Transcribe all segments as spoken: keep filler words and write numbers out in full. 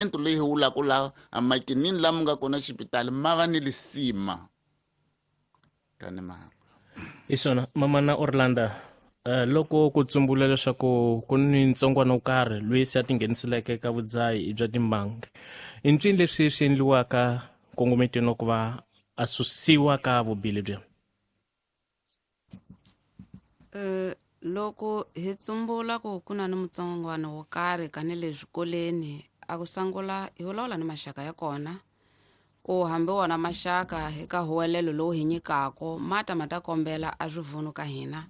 Leyi hi vulaka laha a makinini lama nga kona xipitali ma va ni lisima kani ma hi swona mamana Orlando. Uh, loko ku tsumbula leswaku ku ni ntsongwana wo karhi loyi se a tingheniseleke ka vudzahi bya timbangi, i ncini leswi swi endliwaka nkongometweni ku va a susiwa ka vubihi lebyi? Uh, loko hi tsumbula ku ku na ni mutsongwana wo karhi kani le swikolweni, a ku sungula hi vulavula ni maxaka ya kona ku hambi wona maxaka hi ka huwelelo lowu hi nyikaka ma ta ma ta kombela a swivunu ka hina.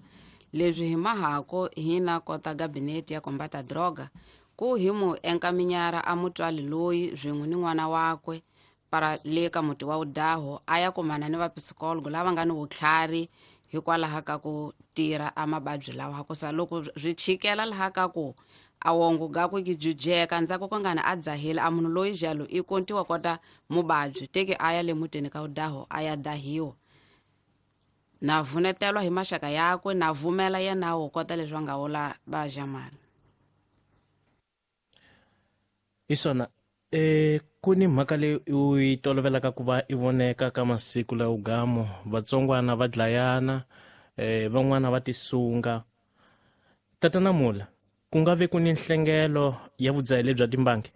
Leswi hi mahako hina kota gabinete ya kombata droga ku hi mu enkaminyara a mutswali loyi swin'we ni n'wana wakwe para le ka muti wa udaho a ya kumana ni vapsikologo lava nga ni vutlhari hikwalaho ka ku tirha a mavabyi lawa. Ku sa loko swi chikela laha ka ku a wongo gakwe ki jujeka ndzhaku ko ngani a dzahile a munhu loyi jalo i kontiwa kota muvabyi teke a ya le mutini ka udaho a ya dahiwa na vunetelwa hi maxaka yakwe na vumela yena wo kota leswi va nga vula va jamani. Hi swona e ku ni mhaka leyi u yi tolovelaka ku va i voneka ka masiku lawa gamo vatsongwana va dlayana eh van'wana va tisunga. Tatana Mula, ku nga ve ku ni nhlengelo ya vudzahi lebya timbangi?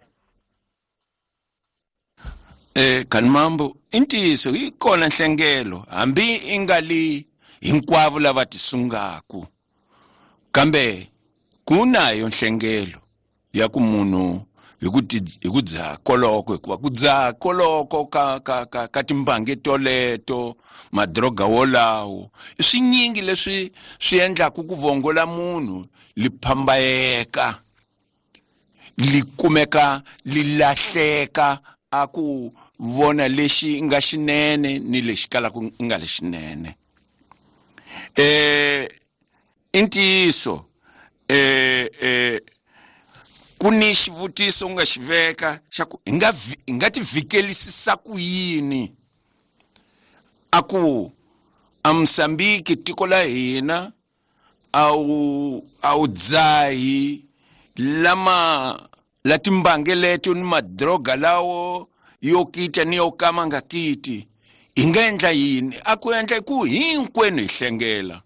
Eh Kanimambo, i ntiyiso yi kona nhlengelo hambi i nga li hinkwavo lava tisungaku, kambe ku nayo nhlengelo ya ku munhu hi ku hi ku dzaha koloko, hikuva ku dzaha koloko ka ka ka ka timbangi toleto madroga wolawo i swinyingi leswi swi endlaku ku vongola munhu li phambayeka li kumeka li lahleka a ku vona lexi nga xinene ni lexi kalaka nga lexinene. Eh i ntiyiso eh eh ku ni xivutiso u nga xi veka xa ku hi nga hi nga ti vikelisisa ku yini a ku a Mozambique tiko la hina a wu a wu dzahi lama la timbangi leto ni madroga lawo yo kita ni yo kama nga kiti, hi nga endla yini? A ku endla ku hinkwenu hi hlengela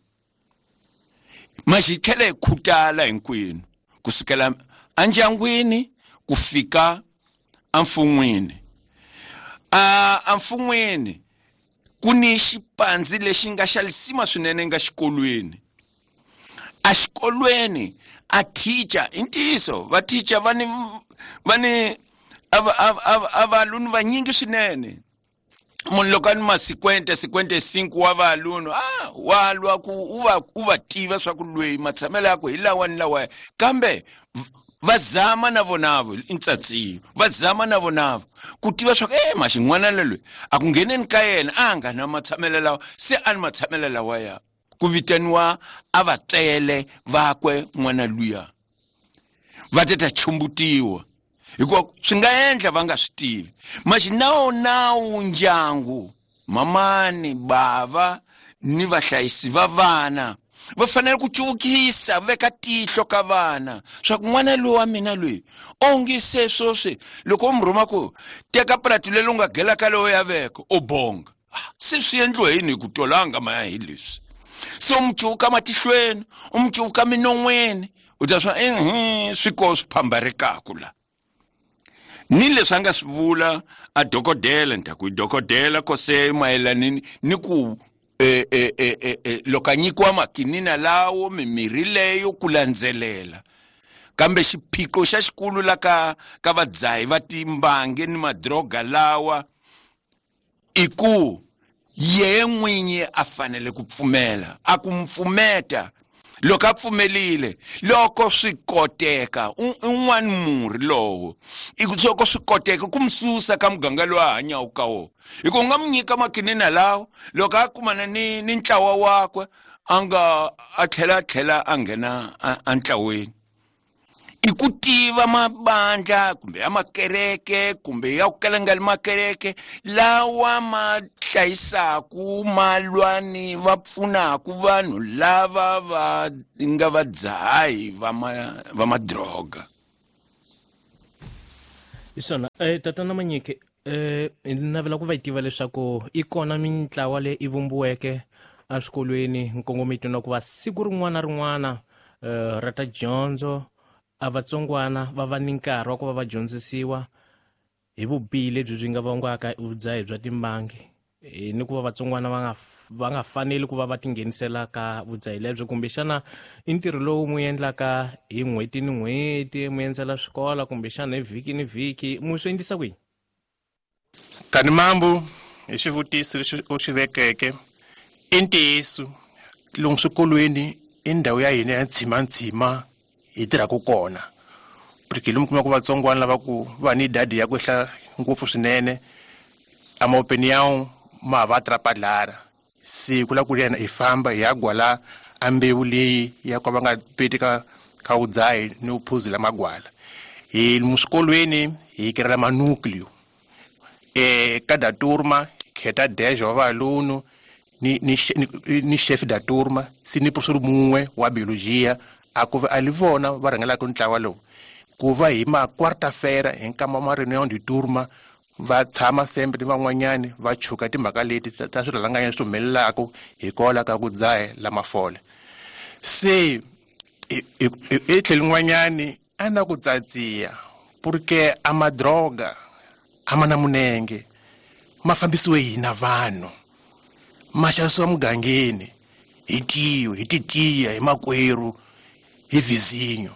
maxi hi tlhela hi khutala hinkwenu kusukela endyangwini ku fika emfun'wini. A emfun'wini ku ni xipandzi lexi nga xa lisima swinene nga xikolweni. A xikolweni a teacher i ntiyiso va teacher va ni va ni a a valunu vanyingi swinene. Munhu loko a ni ma-cinquenta cinquenta cinco wa valunu ah wa lwa ku u va u va tiva swa ku lweyi matshamelo ya ku hi lawa ni lawa, kambe va zama na vonavo i ntsatsiyo va zama na vonavo ku tiva swa ku e maxin'wana loyi a ku ngheneni ka yena a nga na matshamelo lawa se a ni matshamelo lawa ya ku vitaniwa a vatswele vakwe n'wana luya va ta ta chumbutiwa hikuva swi nga endla va nga swi tivi. Maxi nawu nawu ndyangu mamani bava ni vahlayisi va vana va fanele ku cuvukisa veka tihlo ka vana swa ku n'wana loyi wa mina loyi onge se sweswi loko u mi rhuma ku teka prati leri u nga gela ka lowo ya veka u bonga se swi endliwa yini hi ku tolanga maya hi leswi se u mi cuvuka matihlweni u mi cuvuka minon'weni u ta swa ehe swi ko swi phambarekaku la ni leswi a nga swi vula a dokodela ni ta ku i dokodela kose mayelana ni ku eh eh eh eh loko a nyikiwa makinina lawo mimirhi leyo ku landzelela kambe xiphiqo xa xikulu la ka ka vadzahi va timbangi ni madroga lawa i ku ye n'winyi a fanele ku pfumela a ku mpfumeta loko a pfumelile loko swi koteka un'wana murhi lowo i ku loko swi koteka ku mi susa ka muganga lowu a hanyaka ka wona hi ku u nga mi nyika makinina lawo loko a kumana ni ni ntlawa wakwe a nga a tlhela a tlhela a nghena entlaweni. I ku tiva mabandla kumbe ya makereke kumbe ya ku kala nga li makereke lawa ma hlayisaku ma lwa ni va pfunaku vanhu lava va nga vadzahi va ma va madroga. Isona eh tatana Manyike eh navela ku va tiva leswaku i kona mintlawa leyi i vumbiweke eswikolweni nkongomiso na ku va siku rin'wana na rin'wana eh ra ta dyondzo a vatsongwana va va ni nkarhi wa ku va va dyondzisiwa hi vubihi lebyi byi nga vangiwaka vudzahi bya timbangi ni ku va vatsongwana va nga va nga faneli ku va va tinghenisela ka vudzahi lebyo kumbexana i ntirho lowu mu endlaka hi n'hweti ni n'hweti mu endzela swikola kumbexana hi vhiki ni vhiki mu swi endlisa kwihi? Tani mambo hi xivutiso lexi u xi vekeke i ntiyiso lomu swikolweni i ndhawu ya hina ya ntshimantshima hi tirhaka kona porque lomu kuma ku vatsongwana lava ku va ni idadi ya ku ehla ngopfu swinene a ma opinião ma va atrapalhar se ku la ku yena hi famba hi ya gwala a mbewu leyi ya ku va nga peti ka ka vudzahi ni vuphuzi la magwala hi muswikolweni hi kirela manucleo e cada turma kheta dez wa valuno ni ni ni chef da turma si ni professor mun'we wa biologia a ku va a li vona va rhangelaka ntlawa lowu ku va hi ma quarta-feira hi nkama ma reunião de turma va tshama sempre ni van'wanyani va chuka timhaka leti ta swirhalanganya swi humelelaka hikwalaho ka ku dzaha la mafole se e tlhelo n'wanyani a na ku tsatsiya porque a madroga a ma na munenge ma fambisiwe hina vanhu ma xavisiwa mugangeni hi tiyo hi titiya hi makwerhu hi vizinyo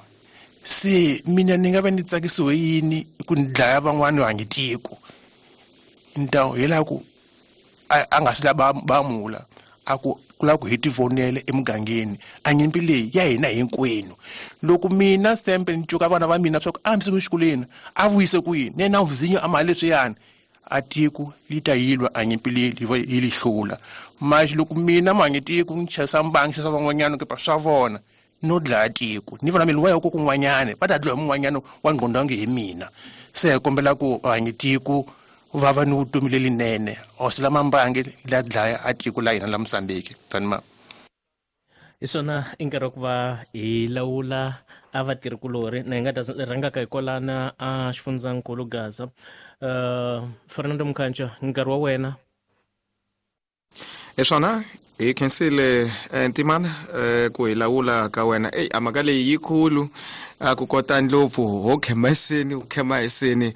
se mina ni nga va ni tsakisiwe yini ku ni dlaya van'wani va nge tiko então hi laha ku a nga swi lava ba mula a ku ku lava ku hi tivonela emugangeni a nyimpi leyi ya hina hinkwenu loko mina sempe ni cuka vana va mina swa ku a hambise ku xikolweni a vuyise ku yini ne na vizinyo a mali leswiyani a tiko li ta yilwa a nyimpi leyi yi li hlula manje loko mina ma nge tiko ni chasa mbangi xasa van'wanyana kepa swa vona no dlaya tiko ni vona mina wa ya ku kun'wanyana va ta dlaya mun'wanyana wa ngqondwangi hi mina se hi kombela ku hanyi tiko va va ni vutomi lelinene hosi lama mbangi la dlaya a tiko la hina la Mozambique tani ma hi swona i nkarhi wa ku va hi lawula a vatirhikulorhi na hi nga ta rhangaka hi kwalana a xifundzankulu Gaza uh, Fernando Mkhantsha nkarhi wa wena hi swona hi khensile Ntimana ku hi lawula ka wena eyi a mhaka leyi yikulu a ku kota ndlopfu ho khema eseni ku khema eseni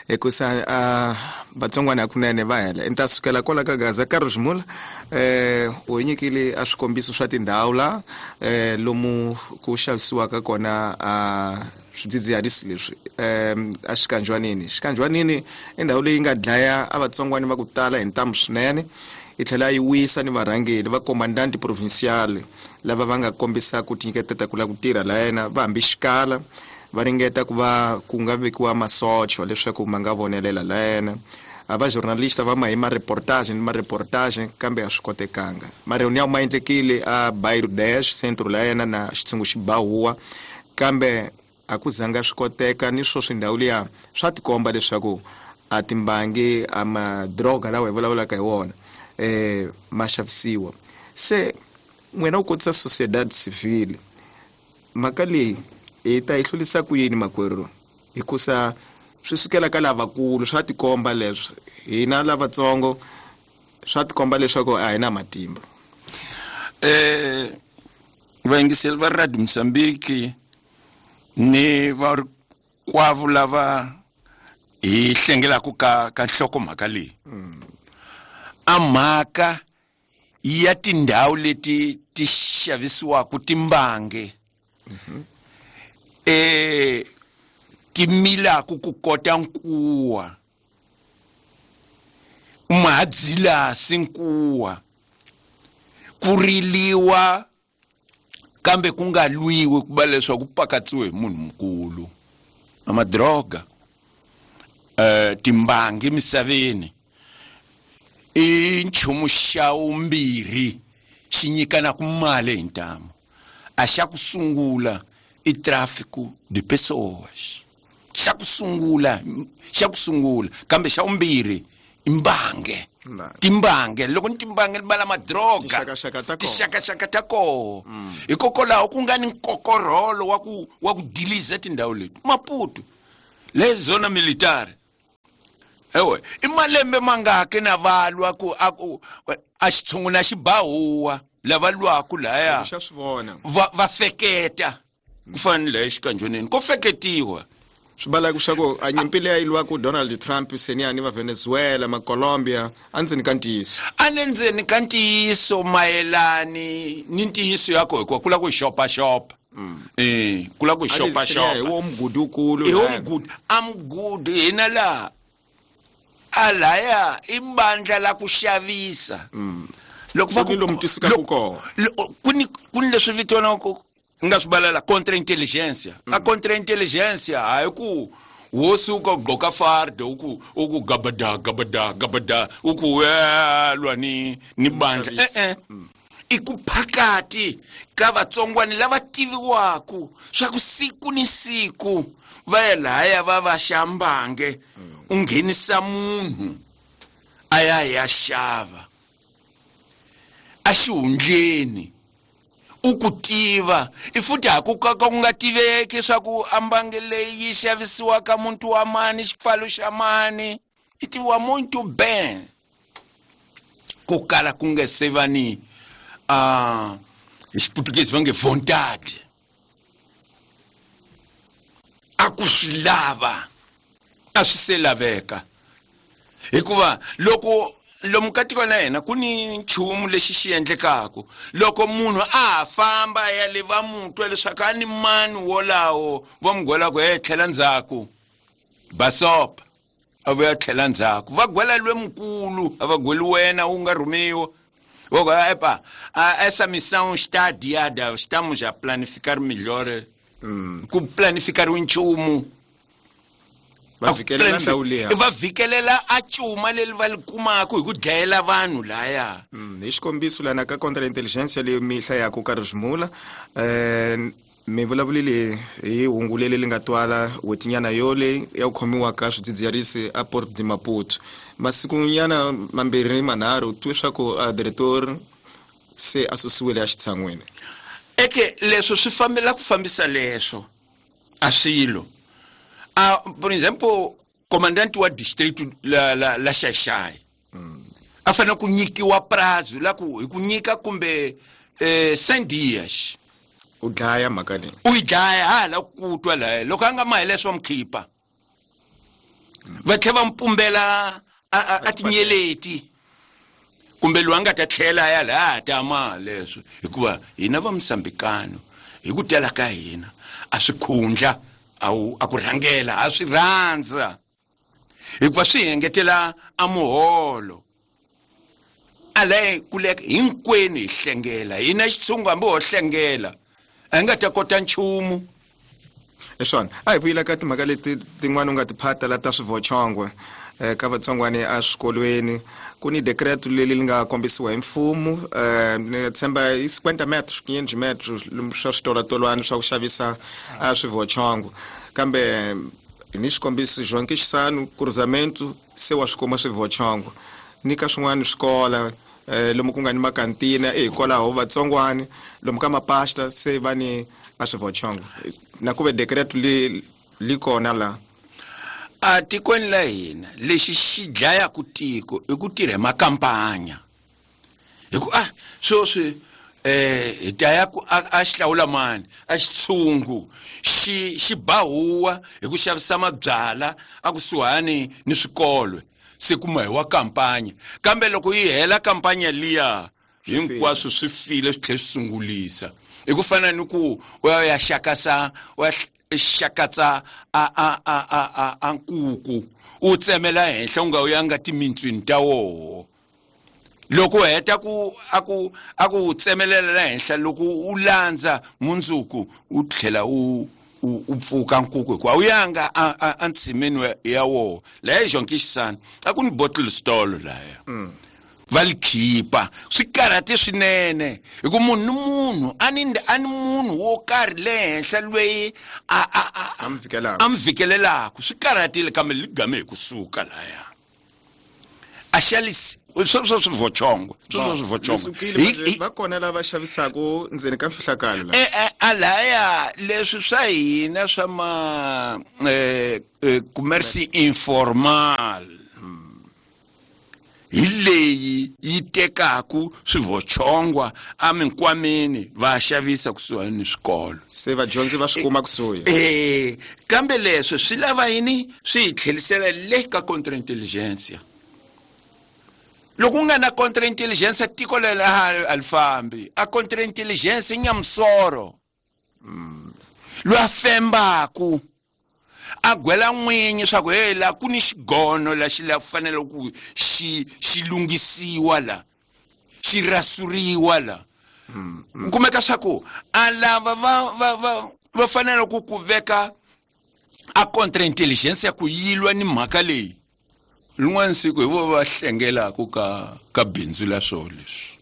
hikusa a vatsongwana hakunene va hela ni ta sukela kwala ka Gaza Carlos Mula eh u hi nyikile a swikombiso swa tindhawu la eh lomu ku xavisiwaka kona a swidzidziharisi leswi um a xikanjwanini xikanjwanini i ndhawu leyi nga dlaya a vatsongwana va ku tala hi ntamu swinene i tlhela yi wisa ni varhangeri va comandante provincial lava va nga kombisa ku tinyiketela ku lava ku tirha la yena va hambi xikala va ringeta ku va ku nga vekiwa masocho leswaku ma nga vonelela la yena a va journalista va ma hi ma reportage ni ma reportage kambe a swi kotekanga ma reunião ma endlekile a Bairro dez centro la yena na xitshungu xibahuwa kambe a ku zanga swi koteka ni swo swindhawu liya swa tikomba leswaku a timbangi a madroga lawa hi vulavulaka hi wona eh ma xavisiwa se n'wina u kotisa sociedade civile mhaka leyi hi ta yi hlurisa ku yini makwerhu hikusa swi sukela ka lavakulu swa tikomba leswi hina lavatsongo swa tikomba leswaku a hi na matimba eh vayingiseli va Radio Mozambique ni varikwavo lava hi hlengelaka ka ka nhlokomhaka leyi a mhaka ya tindhawu leti ti xavisiwaka timbange eh ti milaka ku kota nkuwa mahadzilasi nkuwa ku riliwa kambe ku nga lwiwi ku va leswaku pakatsiwe hi munhu mukulu a madroga eh timbangi emisaveni i nchumu xa vumbirhi xi nyikanaka mali hi ntamu a xa ku sungula i tráfico de pessoas xa ku sungula xa ku sungula kambe xa vumbirhi i mbange timbange loko ni timbange ni vala madroga tixakaxaka ta koho hikokwalaho ku nga ni nkokorholo wa ku wa ku diliza tindhawu leti Maputo le zona militare Ewe i malembe mangaki na valwa ku a ku a xitshungu na xibahuwa lava lwaku laya xa swi vona va va feketa ku fana ni laya xikanjoneni ko feketiwa swi balaka swa ku a nyimpi leyi lwaku Donald Trump seniani va Venezuela ma Colombia a ndzeni ka ntiyiso a le ndzeni ka ntiyiso mayelani ni ntiyiso ya ko hikuva ku lava ku xopaxopa eh ku lava ku xopaxopa hi wo mugudi wukulu hi wo mugudi a mugudi hina laha a laya i bandla la ku xavisa loko va ku lomu tisukaka kona ku ni ku ni leswi vitaniwaka nga swi balela contre-intelligence a contre-intelligence hayi ku wo suka u gqoka farde u ku u ku gabada gabada gabada u ku lwa ni ni bandla e-e i ku phakati ka vatsongwani lava tiviwaku swa ku siku ni siku va ya lahaya va va xambange u nghenisa munhu a ya ya xava a xihundleni u ku tiva i futhi ha ku ka ku nga tiveki swa ku ambange leyi yi xavisiwaka muntu wa mani xipfalo xa mani i tiviwa muito ben ku kala ku nga se va ni a hi xiputukezi va nge vontade a ku swi lava a swi se laveka hikuva loko lomu ka tiko la hina ku ni nchumu lexi xi endlekaku loko munhu a ha famba ya le va mu twa leswaku a ni mani wolawo va mu gwelaku he tlhela ndzhaku basopa a vuya tlhela ndzhaku va gwela lwe mukulu a va gweli wena u nga rhumiwa va ku epa essa missão está adiada estamos a planificar melhor ku planificar nchumu va vikelela ndhawu liya va vikelela a cuma leri va li kumaka hi ku dlayela vanhu laya hi xikombiso lana ka contre-intelligence leyi mi hlayaka ka rizimula um mi vulavulile hi hungu leri li nga twala n'hwetinyana yole ya ku khomiwa ka swidzidziharisi a Port de Maputo masikunyana mambirhi manharhu twe swa ku a diretor se a susiwile a xitshan'wini eke leswo swi fambela ku fambisa leswo a swilo a por exemplo comandante wa distrito la la la Xaxai mm. a fanele ku nyikiwa prazo la ku hi ku nyika kumbe eh cem dias u dlaya mhaka leyi u yi dlaya hala ku twa laha loko a nga ma hi leswo va mu khipa va tlhela va mu pumbela a a tinyeleti kumbe loyi a nga ta tlhela ya laha ta ma leswo hikuva hina va Mosambikano hi ku tala ka hina a swi khundla a a ku rhangela a swi rhandza hikuva swi engetela a muholo a le kuleka hinkwenu hi hlengela hina xitshungu hambi ho hlengela a hi nga ta kota nchumu hi swona a hi vuyela ka timhaka leti tin'wana u nga ti phata la ta swivochongwe ka vatsongwani eswikolweni ku ni decreto leri li nga kombisiwa hi mfumo ni tshemba i cinquenta metros quinhentos metros swa switolatolwana swa ku xavisa a swivochongo kambe ni xikombiso João Quixano cruzamento se wa swi kuma swivochongo ni ka swin'wana swikola lomu ku nga ni makantina e hikwalaho vatsongwani lomu ka mapasta se va ni a swivochongo na ku ve decreto li li kona la a tikweni la hina lexi xi dlayaku tiko i ku tirha hi makampanya hi ku ah sweswi eh hi ta ya ku a xihlawula mani a xitshungu xi xi bahuwa hi ku xavisa mabyala a kusuhani ni swikolo se kuma hi wa kampanya kambe loko yi hela kampanya liya hinkwaswo swi file swi tlhela swi sungulisa i ku fana ni ku u ya ya xakasa u ya xakatsa a a a a a a nkuku u tsemela henhla u nga u yanga timintswini ta woho loko u heta ku a ku a ku tsemelela la henhla loko u landza mundzuku u tlhela u u pfuka nkuku hikuva u yanga a ntshimeni ya woho laya João Quixano a ku ni bottle store laya va li khipa swi karhate swinene hi ku munhu ni munhu a ni a ni munhu wo karhi le henhla loyi a a a a mi fikelelaka swi karhatile kambe li game hi kusuka laya a xalisi sweswo swivochongo sweswo swivochongo va kona lava xavisaka ndzeni ka mfihlakalo la e a laya leswi swa hina swa ma eh commerce informal Hi leyi yi tekaku swivochongwa eminkwameni va xavisa kusuhani ni swikolo. Se vadyondzi va swi kuma kusuhi. Eh, kambe leswi swi lava yini? Swi hi tlherisela le ka contre-intelligence. Loko u nga na contre-intelligence tiko leri a li fambi. A contre-intelligence i nyamusoro. Loyi a fembaku a gwela n'winyi swa ku hey la ku ni xigono la xi la fanele ku xi xi lunghisiwa la xi rasuriwa la. U kumeka swa ku a lava va va va va fanele ku ku veka a contre-intelligence ya ku yilwa ni mhaka leyi. Rin'wana siku hi vo va hlengelaku ka ka bindzu la swo leswi.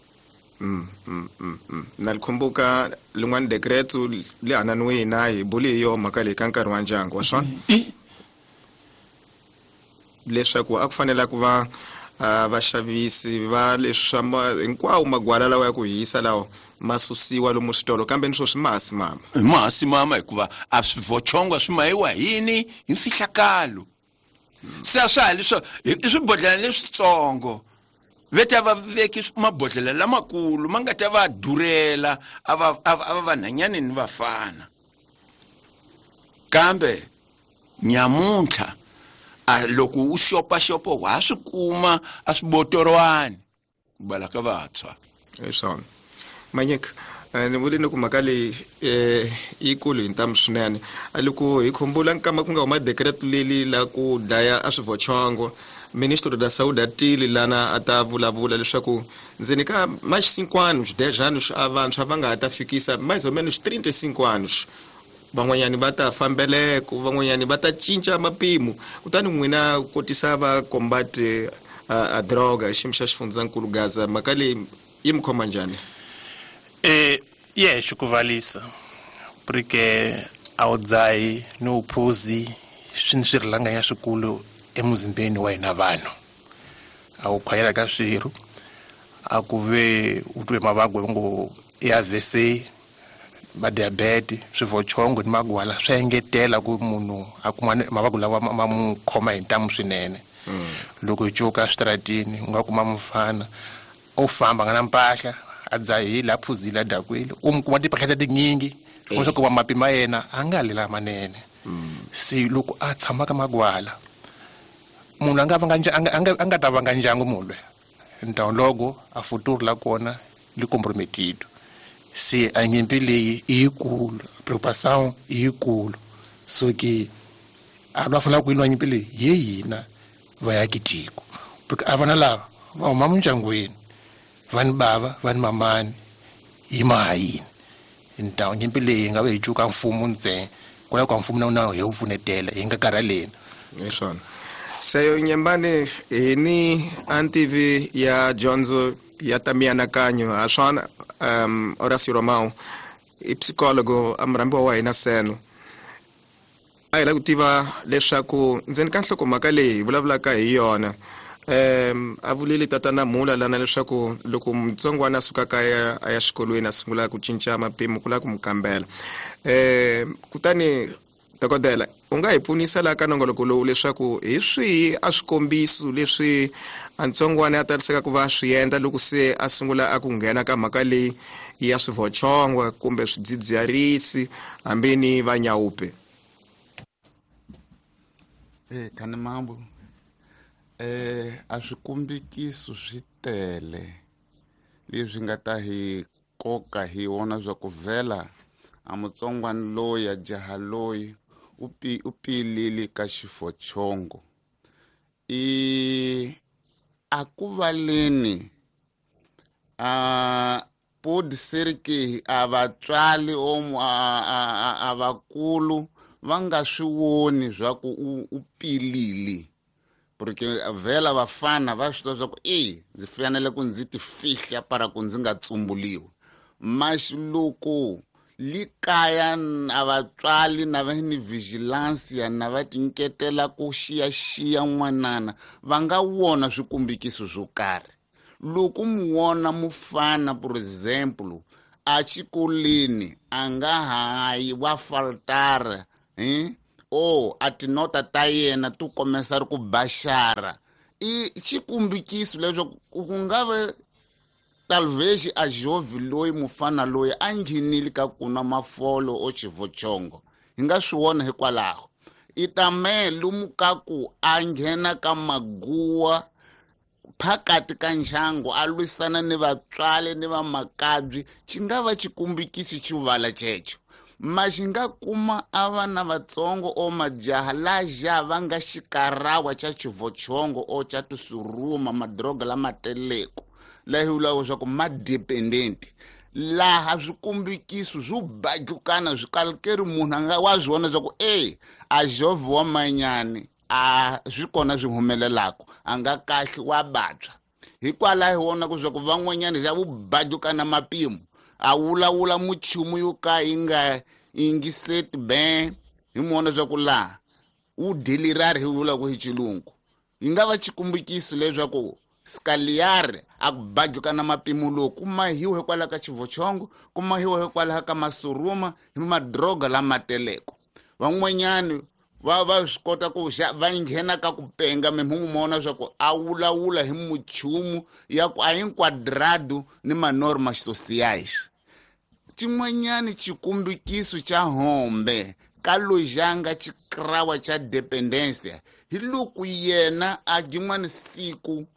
Mm, mm, mm, mm. Na likhumbuka lin'wana decreto le hananiwe na hi buli hi yo mhaka leyi ka nkarhi wa ndyangu wa swona leswaku a ku fanele ku va vaxavisi va leswi hinkwawo magwala lawa ya ku hisa lawa ma susiwa lomu switolo, kambe ni swo swi masi mama masi mama hikuva a swivochongwa swi mayiwa yini hi mfihlakalo. Se a swa ha leswo i swibodhlele leswitsongo veta va veki mabodhlele lamakulu ma nga ta va durela a va a va vanhanyani ni vafana. Kambe nyamuntlha a loko u xopaxopa wa swi kuma a swibotorwani bala ka vantshwa. Hi swona Manyika, ni vule ni ku mhaka leyi yikulu hi ntamu swinene. A loko hi khumbula nkama ku nga huma decreto leli la ku dlaya a swivochongo, ministro da saúde a tile lana a ta vulavula leswaku ndzeni ka mais cinco anos, dez anos a vantshwa va nga ha ta fikisa mais ou menos trinta e cinco anos. Van'wanyani va ta fambeleko, van'wanyani va ta cinca mapimo. Kutani n'wina kotisa va combate a, a droga xiyimo xa xifundzankulu Gaza, mhaka leyi yi mi khoma njhani? Eh, yexe ku valisa porque a wu dzahi ni vuphuzi swi ni swirhalanganya swikulu emuzimbeni wa hina vanhu. A wu khwayela ka swirho, a ku ve u twe mavabyi va ngo i A V C, ma diabete, swivochongo ni magwala swi engetela ku munhu a kuma mavabyi lawa ma mu khoma hi ntamu swinene. Loko hi cuka eswitaratini u nga kuma mufana u famba nga na mpahla a dzahile a phuzile a dakwile, u mu kuma timpahla ta tinyingi u swi kuma mapi ma yena a nga lela manene. Se loko a tshama ka magwala munhu a nga vanga a nga a nga ta vanga ndyangu munhu loyi então logo a futuro la kona li comprometido. Se a nyimpi leyi i yikulu, preocupação i yikulu, so ke a va fanele ku yi lwa nyimpi leyi hi hina vaakitiko, porque a vana lava va huma mindyangwini va ni bava va ni mamani yi maha yini. Então nyimpi leyi hi nga va hi cuka mfumo ntsena kwalaho ka mfumo na wona hi wu pfunetela hi nga karhaleni. Hi swona. Seyo Nyembani hi ni antivi ya dyondzo ya ta mianakanyo ha swona. Um, Horácio Romão i psicólogo a murhambiwa wa hina seno. A hi lava ku tiva leswaku ndzeni ka nhlokomhaka leyi hi vulavulaka hi yona, um a vulile tatana Mula lana leswaku loko mutsongwana a suka kaya a ya xikolweni a sungula ku cinca mapimo ku lava ku mu kambela. Um kutani dokodela u nga hi pfunisa laha ka nongoloko lowu leswaku hi swihi a swikombiso leswi a ntsongwana a tariseka ku va swi endla loko se a sungula a ku nghena ka mhaka leyi ya swivochongwa kumbe swidzidziharisi hambi ni vanyawupe? Eh, kani mambo eh a swikombikiso swi tele leswi nga ta hi koka hi wona swa ku vhela a mutsongwana loyi a jaha loyi u pi u pilile ka xifochongo. I a ku valeni a pode ser que a vatswari omu a a a vakulu va nga swi voni swa ku u pilile, porque vhela vafana va swi tiva swa ku e ndzi fanele ku ndzi ti fihla para ku ndzi nga tsumbuliwi. Mas loko li kaya a vatswari na va ni vigilance na va tinyiketela ku xiyaxiya n'wanana va nga vona swikombikiso swo karhi. Loko mu vona mufana por exemplo a xikolweni a nga hayi wa faltara eh o a tinota ta yena tu komesa ri ku baxara I xikombikiso leswaku ku nga ve talvez a jovem loyi mufana loyi a nghenile ka ku nwa mafolo o xivochongo hi nga swi vona hikwalaho i também lomu ka ku a nghena ka maguwa phakati ka ndyangu a lwisana ni vatswari ni vamakabyi xi nga va xikombikiso xivala xexo ma xi nga kuma a vana vatsongo o majaha laja va nga xikarawa xa xivochongo o xa tisuruma madroga lama teleko laha hi vulaka leswaku ma dependent laha swikombikiso swo badlukana swi kalukeri munhu a nga wa swi vona leswaku e a jovhe wa manyani a swi kona swi humelelaka a nga kahle wa vabya hikwalaho hi vona ku swa ku van'wanyana xa vubadlukana mapimo a vulavula muchumu yo ka yi nga yingiseti ben hi mona swa ku laha u delirari hi vulaka hi xilungu yi nga va xikombikiso leswaku skaliare a ku badlukana mapimo lowu ku mahiwa hikwalaho ka xivochongo ku mahiwa hikwalaho ka masuruma hi madroga lama teleko van'wanyani va va swi kota ku va nghena ka ku penga mi mona swa ku a vulavula hi muchumu ya ku a hinkwadrado ni manormas sociais xin'wanyani xikombikiso xa hombe ka lojanga xikrawa xa dependência hi loko yena a jin'wana siku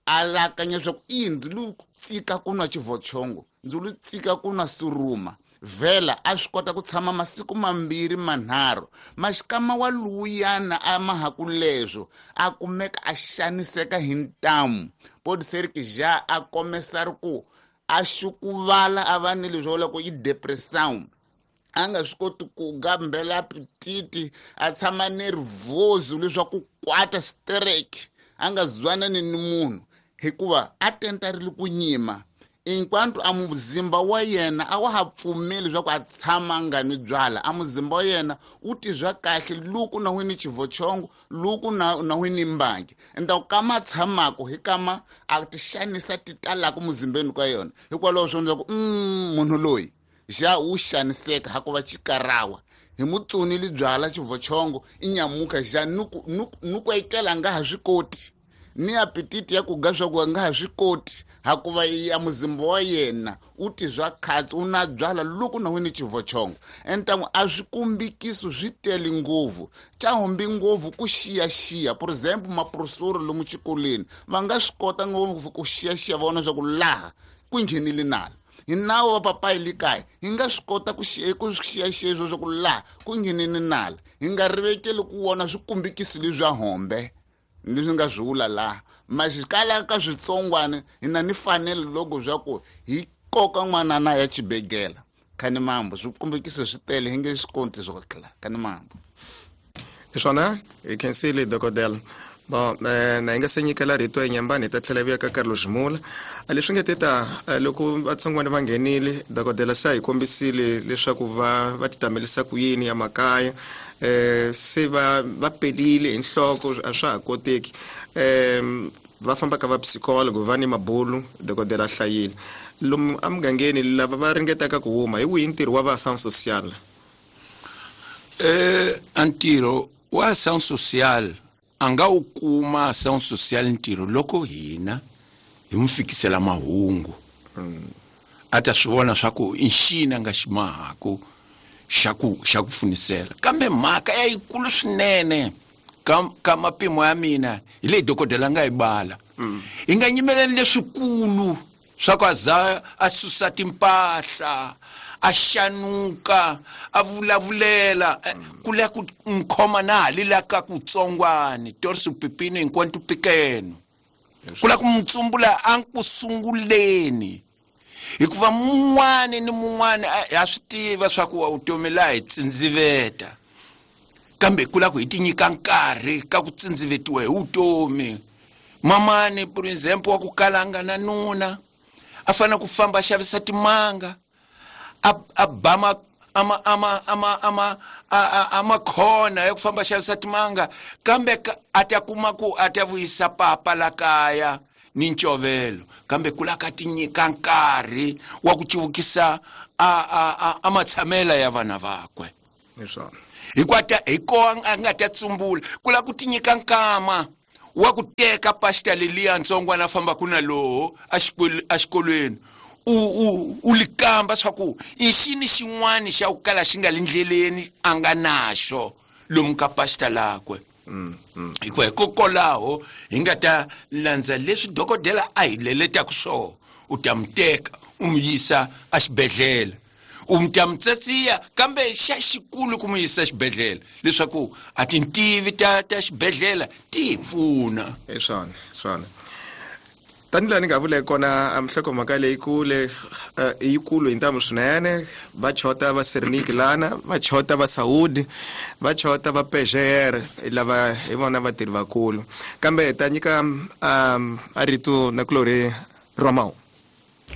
a lakanya swa ku i ndzi lu tsika ku nwa xivochongo ndzi lu tsika ku nwa suruma vhela a swi kota ku tshama masiku mambirhi manharhu maxikama wa luyana a mahaku leswo a kumeka a xaniseka hi ntamu pode ser que já a começar ku a xukuvala a va ni leswi vulaka i depressão a nga swi koti ku gambela apetite a tshama nervoso leswaku kwata strike a nga zwanani ni munhu hikuva a tentarile ku nyima enquanto a muzimba wa yena a wa ha pfumeli leswaku a tshama nga ni byala a muzimba wa yena wu tizwa kahle loko na wini xivochongo loko na na wini mbangi então kama tshamako hi kama a ti xanisa ti talaka muzimbeni ka yona hikwalaho swo ndza ku mm munhu loyi xa wu xaniseka hakuva xikarawa hi mutsonile byala xivochongo i nyamuka xa nuku nuku etlela nga ha swi koti ni apetite ya ku ga swa ku nga ha swi koti hakuva ya muzimba wa yena u tizwa khatsi u na byala loko na wini xivochongo então a swi kombikiso swi tele ngopfu xa humbi ngopfu ku xiyaxiya por exemplo maprofessor lomu xikolweni va nga swi kota ngopfu ku xiyaxiya vona swa ku laha ku nghenile nala hi nawu wa papayi le kaya hi nga swi kota ku ku xiyaxiya swo swa ku laha ku nghenile nala hi nga rivekeli ku vona swikombikiso leswa hombe leswi nga swi vula laha maxikala ka switsongwana hi na ni fanelo loko swa ku hi koka n'wanana ya xibedhlele khani mambo swikombikiso swi tele hi nge swi koti swo kla khani mambo hi swona hi khensile dokodela bon na hi nga se nyikela rito enyambani hi ta tlhela vuya ka Carlos Mula leswi nga teta loko vatsongwana va nghenile dokodela se a hi kombisile leswaku va va titamelisa ku yini ya makaya eh se va va pelile hi nhloko a swa ha koteki um va famba ka va psychologue va ni mabulu dokodela hlayile lomu emugangeni lava va ringetaka ku huma hi wihi ntirho wa va ação social eh ntirho wa ação social a nga wu kuma ação social ntirho loko hina hi mu fikisela mahungu a ta swi vona swa ku i nxini a nga xi mahaku xa ku xa ku pfunisela kambe mhaka ya yikulu swinene ka ka mapimo ya mina hi leyi dokodela nga yi bala hi nga nyimeleni leswikulu swa ku a za a susa timpahla a xanuka a vulavulela ku la ku nkhoma na hali la ka kutsongwani torso pepino enquanto pequeno ku la ku mutsumbula a ku sunguleni hikuva mun'wani ni mun'wani ha swi tiva swa ku vutomi laha hi tsindziveta kambe ku la ku hi ti nyika nkarhi ka ku tsindzivetiwa hi vutomi mamani por exemplo wa ku kalanga na nuna a fanele ku famba a xavisa timanga a a ba ma ama ama ama ama ama khona ya ku famba a xavisa timanga kambe a ta kuma ku a ta vuyisa papa la kaya ni ncovelo kambe ku la ka ti nyika nkarhi wa ku civukisa a a a matshamela ya vana vakwe hikuva ta hi koho a nga ta tsumbula ku la ku ti nyika nkama Wa ku teka pastor leliya ntsongwana famba ku na loho a xikolweni u u u likamba swa ku i xini xin'wani xa ku kala xi nga le ndleleni a nga naxo lomu ka pastor lakwe. Hikuva hikokwalaho hi nga ta landza leswi dokodela a hi leletaka swona, u ta mi teka u mi yisa exibedhlele, u mi ta mi tsatsiya kambe xa xikulu ku mi yisa xibedhlele leswaku a tintivi ta ta xibedhlele ti hi pfuna. Hi swona swona tanihi laha ni nga vula kona nhlokomhaka leyikulu yikulu hi ntamu swinene. Va chota va Sernik lana, va chota va Saudi, va chota va P G R, lava hi vona vatirhi vakulu. Kambe ta nyika a rito na kulori Romao.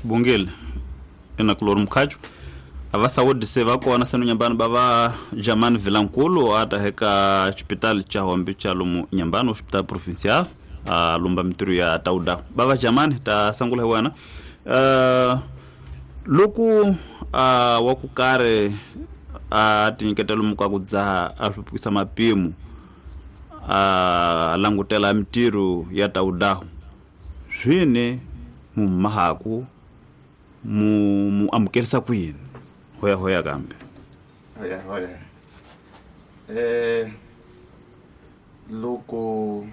Bungile ina kulori Mkhachu. Ava Saudi se va kona senu nyambani bava Jamani Vilankulu ata heka hospital cha Hombi cha lomu nyambani hospital provincial a lumba mitru ya tauda bava Jamani ta sangula wana uh, loku uh, wakukare a tinyiketela lomu ka ku dzaha a hlupukisa mapimo a langutela mitiru ya tauda swine mumahaku mu mu amukerisa ku yini hoya hoya kambe hoya hoya eh loko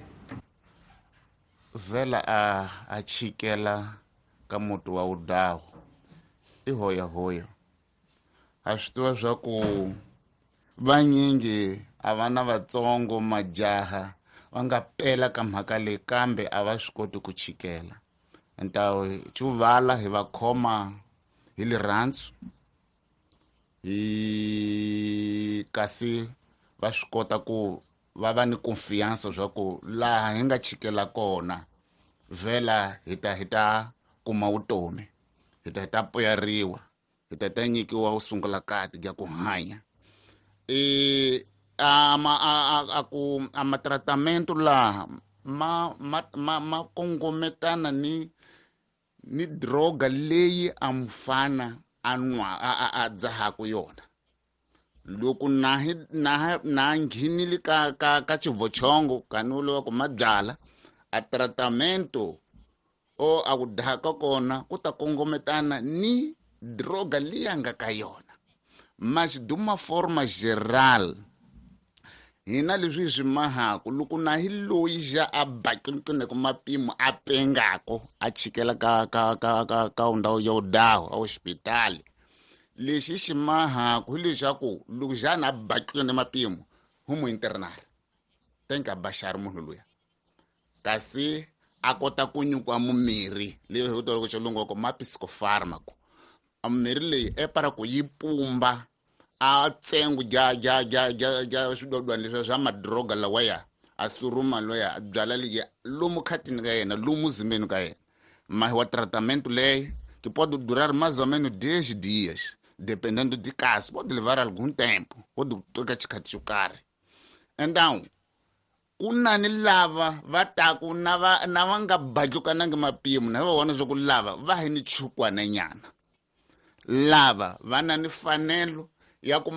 vela a a chikela ka muti wa udawu i hoya hoya a swi tiva swa ku vanyingi a va na vatsongo majaha va nga pela ka mhaka leyi kambe a va swi koti ku chikela. Ntawo chuvala hi va khoma hi lirhandzu hi kasi va swi kota ku va va ni confiance swa ku laha hi nga chikela kona vhela hi ta hi ta kuma vutomi, hi ta hi ta puyariwa, hi ta ta nyikiwa u sungula kati ya ku hanya. E a ma a a ku a ma tratamento laha ma ma ma ma kongometana ni ni droga leyi a mfana a nwa a a dzahaku yona. Loko na hi na na nghinile ka ka ka chivochongo kanulo ku mabyala a tratamento o a ku daka kona ku ta kongometana ni droga leyi nga ka yona. Mas de uma forma geral hina leswi swi mahaku loko na hi loyi ja a bakini ku mapimo a pengako a chikela ka ka ka ka ka ndhawu yo dawo a hospitali lexi xi mahaku hi leswaku loko jana a bakini mapimo hu mu internal tenka bashar munhu luya kasi a kota ku nyikwa mumirhi leyi hi toloko xilungu ko ma psicofarmaco a mirhi leyi e para ku yi pumba a tsengu ja ja ja ja ja swidodwana leswi swa madroga lawaya a suruma loya a byala leyi lomu khatini ka yena lomu zimbeni ka yena mas o tratamento leyi que pode durar mais ou menos dez dias dependendo de caso pode levar algum tempo pode tocar xikhathi xo karhi. Então ku na ni lava va taku na va na va nga badlukanangi mapimo na va vona swa ku lava va hi ni chukwana nyana lava va na ni fanelo ya ku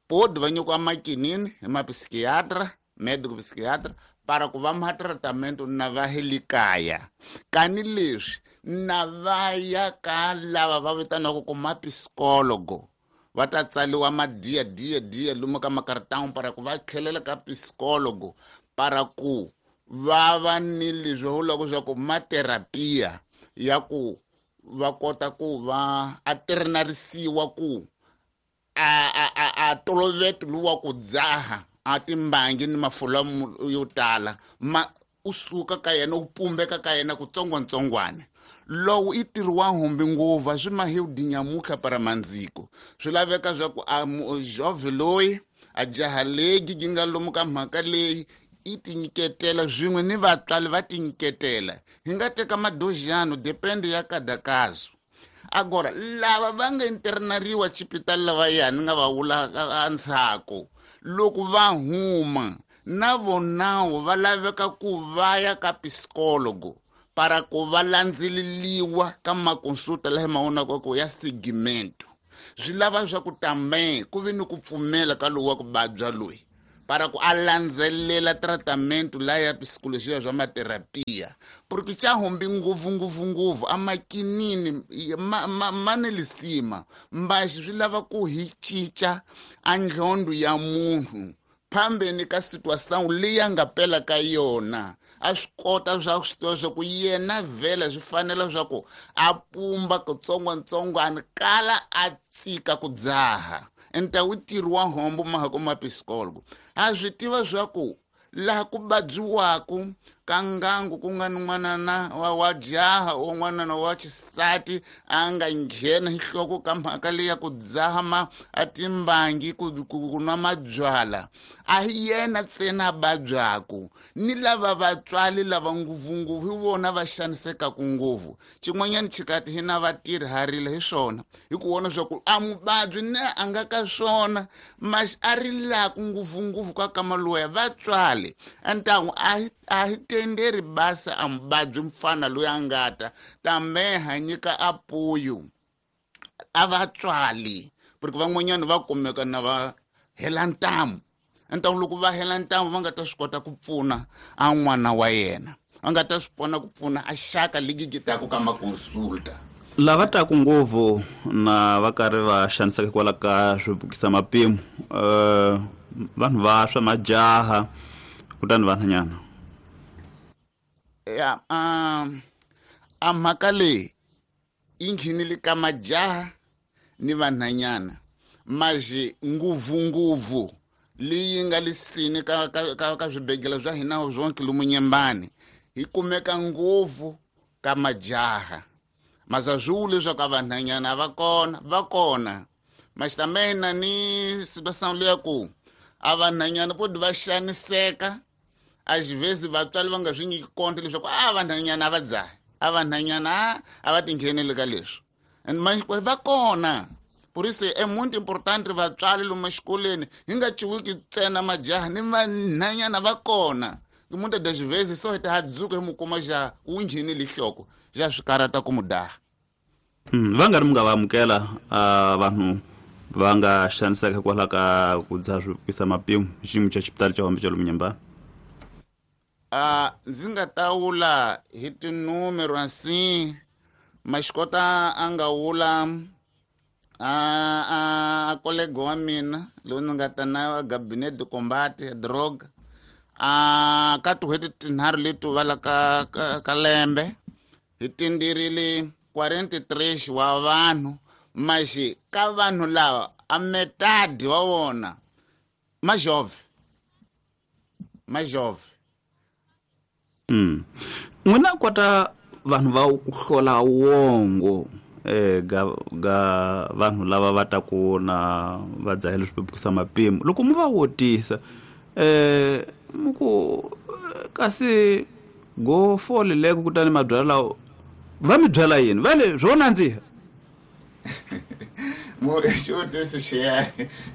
pode va nyikiwa makinini hi ma psiquiatra médico psiquiatra para ku va ma tratamento na va hi le kaya kani leswi na va ya ka lava va vitaniwaka ku ma psicólogo va ta tsaliwa madiya diya diya lomu ka makartão para ku va tlhelela ka psicólogo para ku va va ni leswi vulaka swa ku ma terapia ya ku va kota ku va a ternarisiwa ku a a a a toloveto luwa ku dzaha a timbangi ni mafula yo tala ma u suka ka yena u pumbeka ka yena kutsongotsongwana lowu i ntirho wa humbi ngopfu swi ma hi dinyamuka para mandziko swi laveka swa ku a jove loyi a jaha legi yi nga lomu ka mhaka leyi i tinyiketela swin'we ni vatswari va tinyiketela hi nga teka madozhano depende ya kada caso. Agora lava va nga internariwa xipitali lava yani nga va vula endzhaku loko va huma na vonawo va laveka ku va ya ka psicólogo para ku va landzeleliwa ka makonsulta laha ma vonaka ku ya segmento swi lava swa ku tambe ku vi ni ku pfumela ka lowu wa ku vabya loyi para ku a landzelela tratamento la ya psicologia zwa materapia porque cha hombi nguvu nguvu nguvu amakinini ma, ma, manelisima mbaxi swi lava ku hi cinca a ndlhondo ya munhu phambeni ka situação leyi a nga pela ka yona a swi kota swa swi tiva swa ku yena vhela swi fanela swa ku a pumba kutsongotsongwana kala a tsika ku dzaha enta wu ntirho wa hombo mahako ma psikologo a swi tiva swa ku laha ku vabyiwaku ka ngangu ku nga ni n'wanana wa wa jaha o n'wanana wa xisati a nga nghena hi nhloko ka mhaka leyi ya ku dzaha ma a timbangi ku ku nwa mabyala a hi yena ntsena a vabyaku ni lava vatswari lava ngopfungopfu hi vona va xanisekaku ngopfu xin'wanyana xikati hi na vatirhi ha rila hi swona hi ku vona swa ku a muvabyi ne a nga ka swona mas a rilaku ngopfungopfu ka kama loya vatswali antangu a hi a hi tenderi basa a muvabyi mfana loyi a nga ta tambe ha nyika apoyo a vatswali porque van'wanyana va kumeka na va hela ntamu ntamu loko va hela ntamu va nga ta swi kota ku pfuna a n'wana wa yena va nga ta swi pona ku pfuna a xaka ligi gitaku ka makonsulta lava taku ngopfu na va karhi va xaniseka hikwalaho ka swibukisa mapimo um vanhu va swa majaha kutani vanhanyana ya um a mhaka leyi yi nghenile ka majaha ni vanhanyana maje ngopfungopfu leyi nga lisini ka ka ka, ka swibedhlele swa hina zonke lomu Nyembani hi kumeka ngopfu ka majaha masa swi vuli leswaku a vanhanyana va kona va kona maxi ni situação leya ku a vanhanyana po va xaniseka às vezes vatswari va nga swi nyiki konto leswaku a vanhanyana a va dzahi a vanhanyana a va tingheneli ka leswi and manje va kona por isso é muito importante vatswari lomu exikolweni hi nga ciwiki ntsena majaha ni vanhanyana va kona muitas das vezes só hi ta dzuka hi mu kuma xa wu nghenile nhloko xa swi karata ku mu daha va nga ri mi nga va amukela vanhu va nga xaniseka hikwalaho ka ku dzaha swibukisa mapimo hi xiyimo xa xipitali xa hombe xa lomu Nyembani a ndzi nga ta wula hi tinumero assim mas kota a nga wula a a kolega wa mina loyi ni nga ta na gabinete de combate ya droga a ka tin'hweti tinharhu leti vala ka, ka, ka lembe hi tindirile quarenta e três wa vanhu mas ka vanhu lava a metade wa vona ma jovem ma jovem mm. N'wina kota vanhu va ku hlola wongo eh ga ga vanhu lava va ta ku na va dzahela swibukisa mapimo loko mu va wotisa eh muku kasi go fole leko kutani mabyala lawo va mi byala yini va le swo nandziha mo xivutiso xiya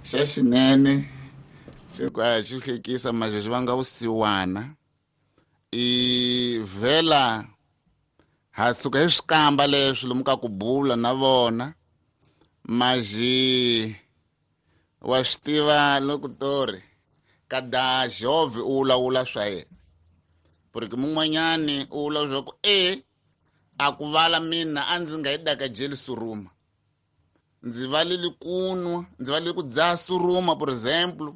xa xinene xi ka xi hlekisa manje xi vanga vusiwana i vhela ha suka hi swi kamba leswi lomu ka ku bula na vona maji wa swi tiva loko tori kada jove u vulavula swa yena porque mun'wanyani u vula leswaku e a ku vala mina a ndzi nga yi daka jeli suruma ndzi valeli ku nwa ndzi valeli ku dzaha suruma por exemplo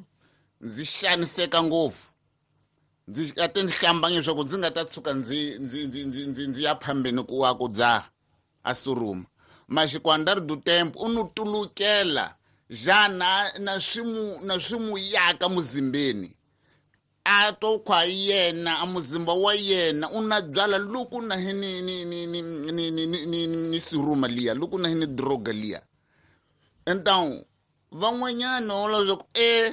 ndzi xaniseka ngopfu ndzi a ti ni hlambanya leswaku ndzi nga ta tshuka ndzi ndzi ndzi ndzi ndzi ndzi ya phambeni ku wa ku dzaha a suruma mas com andar do tempo u nu tulukela já na na swi mu na swi mu yaka muzimbeni a to khwa yena a muzimba wa yena u na byala loko na hi ni ni ni ni ni ni ni ni ni suruma liya loko na hi ni droga liya então van'wanyana va leswaku e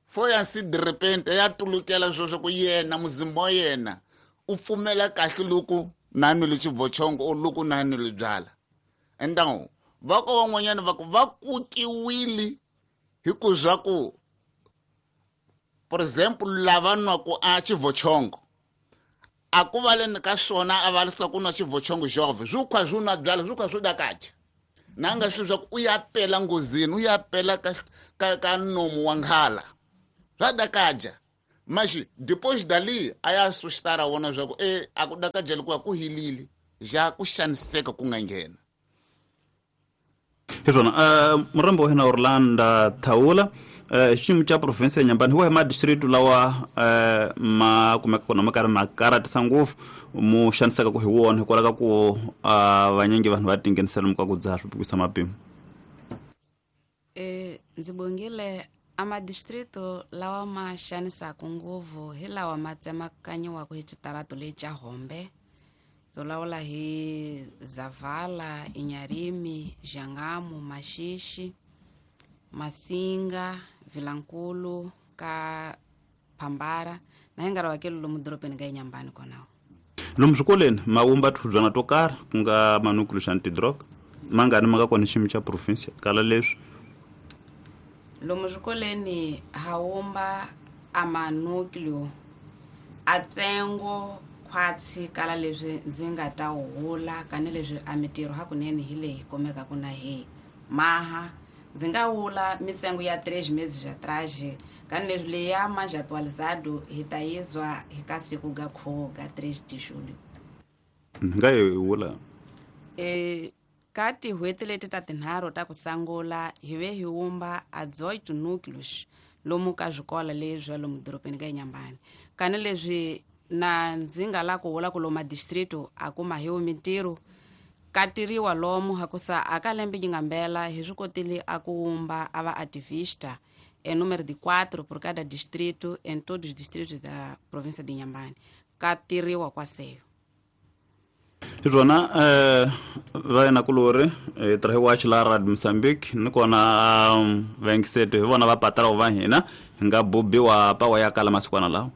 foi assim de repente ya tulukela sweswo ku yena muzimba wa yena u pfumela kahle loko na nwile xivochongo or loko na nwile byala então va ko van'wanyana va ku va kukiwile hi ku swa ku por exemplo lava nwaku a xivochongo a ku va leni ka swona a va lisa ku nwa xivochongo jove swi khwa swi nwa byala swi khwa swi dakacha na nga swi swa ku u ya pela nghozini u ya pela ka ka ka nomu wa nghala Swa dakaja. Mas depois dali a ya assustar a wona swa ku e a ku dakajela ku ku hilile ja ku xaniseka ku nga nghena. Hi swona uh, murhambi wa hina Orlando Thaula uh, xiyimo xa province ya Nyambani hi wahi madistrict lawa uh, ma kumeka kona ma karhi ma karatisa ngopfu mu xaniseka ku hi wona hikwalaho ka ku uh, vanyingi vanhu va tinghenisela lomu ka ku dzaha swi pikisa mapimo? Eh, ndzi bongile a madistrito lawa ma xanisaka ngopfu hi lawa ma tsemakanyiwaka hi xitarato lexi xa Hombe. Tolawula hi Zavala, Inyarimi, Jangamu, Maxixi, Masinga, Vilankulu, ka Phambara na hi nkarhi wa kelo lomu dorobeni ka Inyambani konawo. Lomu swikolweni ma vumba tihubyana to karhi ku nga manukulu xa antidrug mangani ma nga kona xiyimo xa province kala leswi? Lomu swikolweni ha wumba a manúcleo a tsengo khwatsi kala leswi ndzi nga ta hula kani leswi a mitirho hakunene hi leyi kumekaka na hi maha ndzi nga wula mitsengo ya três meses atrás kani leswi leya mais atualizado hi ta yizwa hi ka siku ga kho ga três de julho. Nga yi wula e ka tin'hweti leti ta tinharhu ta ku sungula hi ve hi wumba a dezoito núcleos lomu ka swikolo leswi lomu dorobeni ka Inyambani kani leswi na ndzi nga la ku vula ku lomu madistrito a kuma hi mintirho ka tiriwa lomu hakusa a ka lembe yi nga mbela hi swi kotile a ku wumba a va ativista em número de quatro por cada distrito em todos os distritos da província de Inhambane ka tiriwa kwaseyo. Hi swona eh va yena kulori eh tirha hi watch la Radio Mozambique ni kona vaingiseti hi vona va patara va hina hi nga bubiwa pawa ya kala masikwana lawa.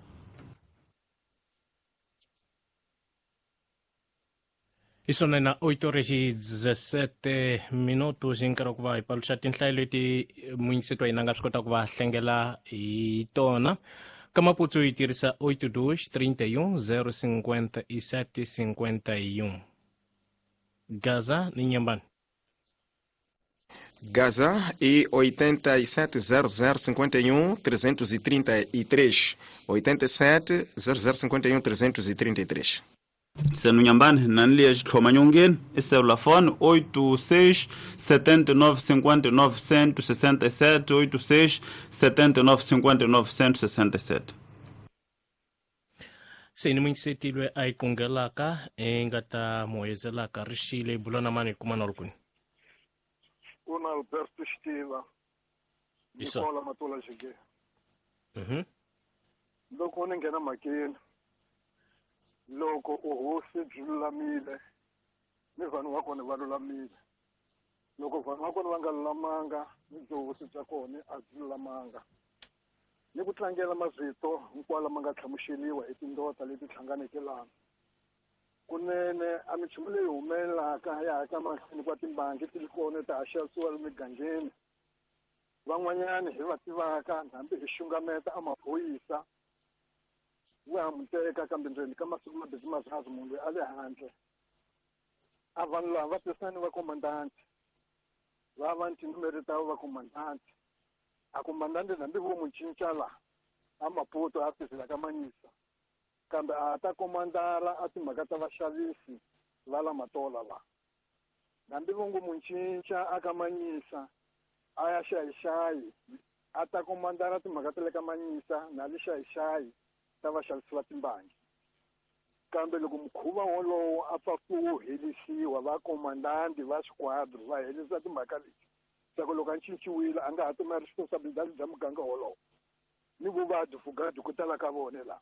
Isso na oito horas e dezessete minutos hi nkarhi wa ku va hi paluxa tinhlayo leti muyingiseti wa hina nga swi kota ku va hlengela hi tona. Ka Maputo hi tirhisa oito dois trinta e um zero cinquenta e sete cinquenta e um. Gaza ni Inhambane. Gaza e oitenta e sete zero zero cinquenta e um trezentos e trinta e três. oitenta e sete zero zero cinquenta e um trezentos e trinta e três. Senu Inhambane nani liya xitlhoma nyongeni i selulafoni oito seis setenta e nove cinquenta e nove cento e sessenta e sete oito seis setenta e nove cinquenta e nove cento e sessenta e sete. Se ni muyingisetilwe a yi kungelaka i nga ta muhezelaka rixile bulana mani kuma na ri kwini? Kuna Alberto Xitiva Nicola Matola Jige. Mhm. Loko ni nghena mhakeni loko uhosi byi lulamile ni vanhu va kona va lulamile, loko vanhu va kona va nga lulamanga ni byihosi bya kona a byi lulamanga. Ni ku tlangela mavito hinkwawo lama nga hlamuseriwa hi tindota leti hlanganeke lana kunene a minchumu leyi humelelaka ya ha ka mahlweni kwa timbangi ti ri kona ta ha xavisiwa emigangeni. Van'wanyani hi va tivaka hambi hi xungameta a maphorisa wa ha mu teka kambe ndzeni ka masiku mambirhi manharhu munhu loyi a le handle. A vanhu lava va tirhisana ni vakomandanti va va ni tinumere ta vakomandanti a komandante hambi vo mu cinca la a Maputo a tirhela ka Manyisa kambe a ta komandara a timhaka ta vaxavisi va la Matola la hambi vo ngo mu cinca a ka Manyisa a ya xayixayi a ta komandara timhaka ta le ka Manyisa na le xayixayi ta vaxavisi va timbangi. Kambe loko mukhuva wolowo a pfa ku helisiwa vakomandanti va swiquadro va helisa timhaka leti swa ku loko a cinciwile a nga ha tuma responsibility bya muganga wolowo ni vuvabyi fugadi ku tala ka vona la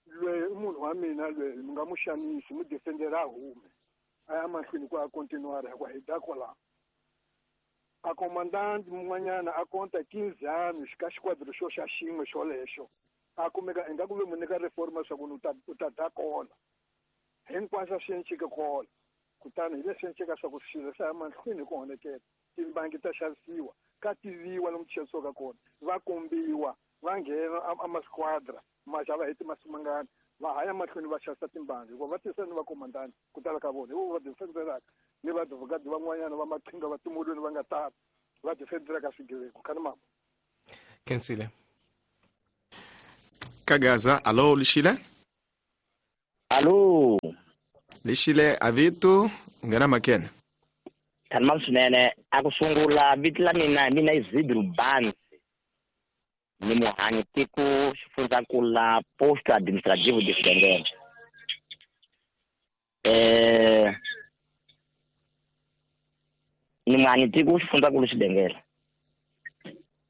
lweyi i munhu wa mina lweyi mi nga mu xanisi mu defendera a hume a ya mahlweni ku a continuara hikuva hi da kwalaho. A komandanti mun'wanyana a konta quinze anos ka xiquadro xo xa xin'we xolexo a kumeka ingaku ve mu nyika reforma swa ku u ta u ta da kona hinkwaswo swi encike kona. Kutani hi leswi encika swa ku swilo swa ya mahlweni hi ku honekela timbangi ta xavisiwa ka tiviwa lomu ti xavisiwaka kona va kombiwa va nghena a masquadra ma xava hi timasiku mangani va ha ya mahlweni va xavisa timbangi hikuva va tirhisana ni vakomandanti ku tala ka vona hi vo va defendelaka ni vadvokati van'wanyana va maqhinga va timolweni va nga tala va defendelaka swigevenga. Khani mama Khensile. Kagaza. Alo Lixile. Alo Lixile avito nghena makene. Thanma swinene a ku sungula vito la mina mina Isidro Banzi ni muhanyi tiko xifundzankulu la posto administrativo de Xidengele. Eh ni muhanyi tiko xifundzankulu Xidengele.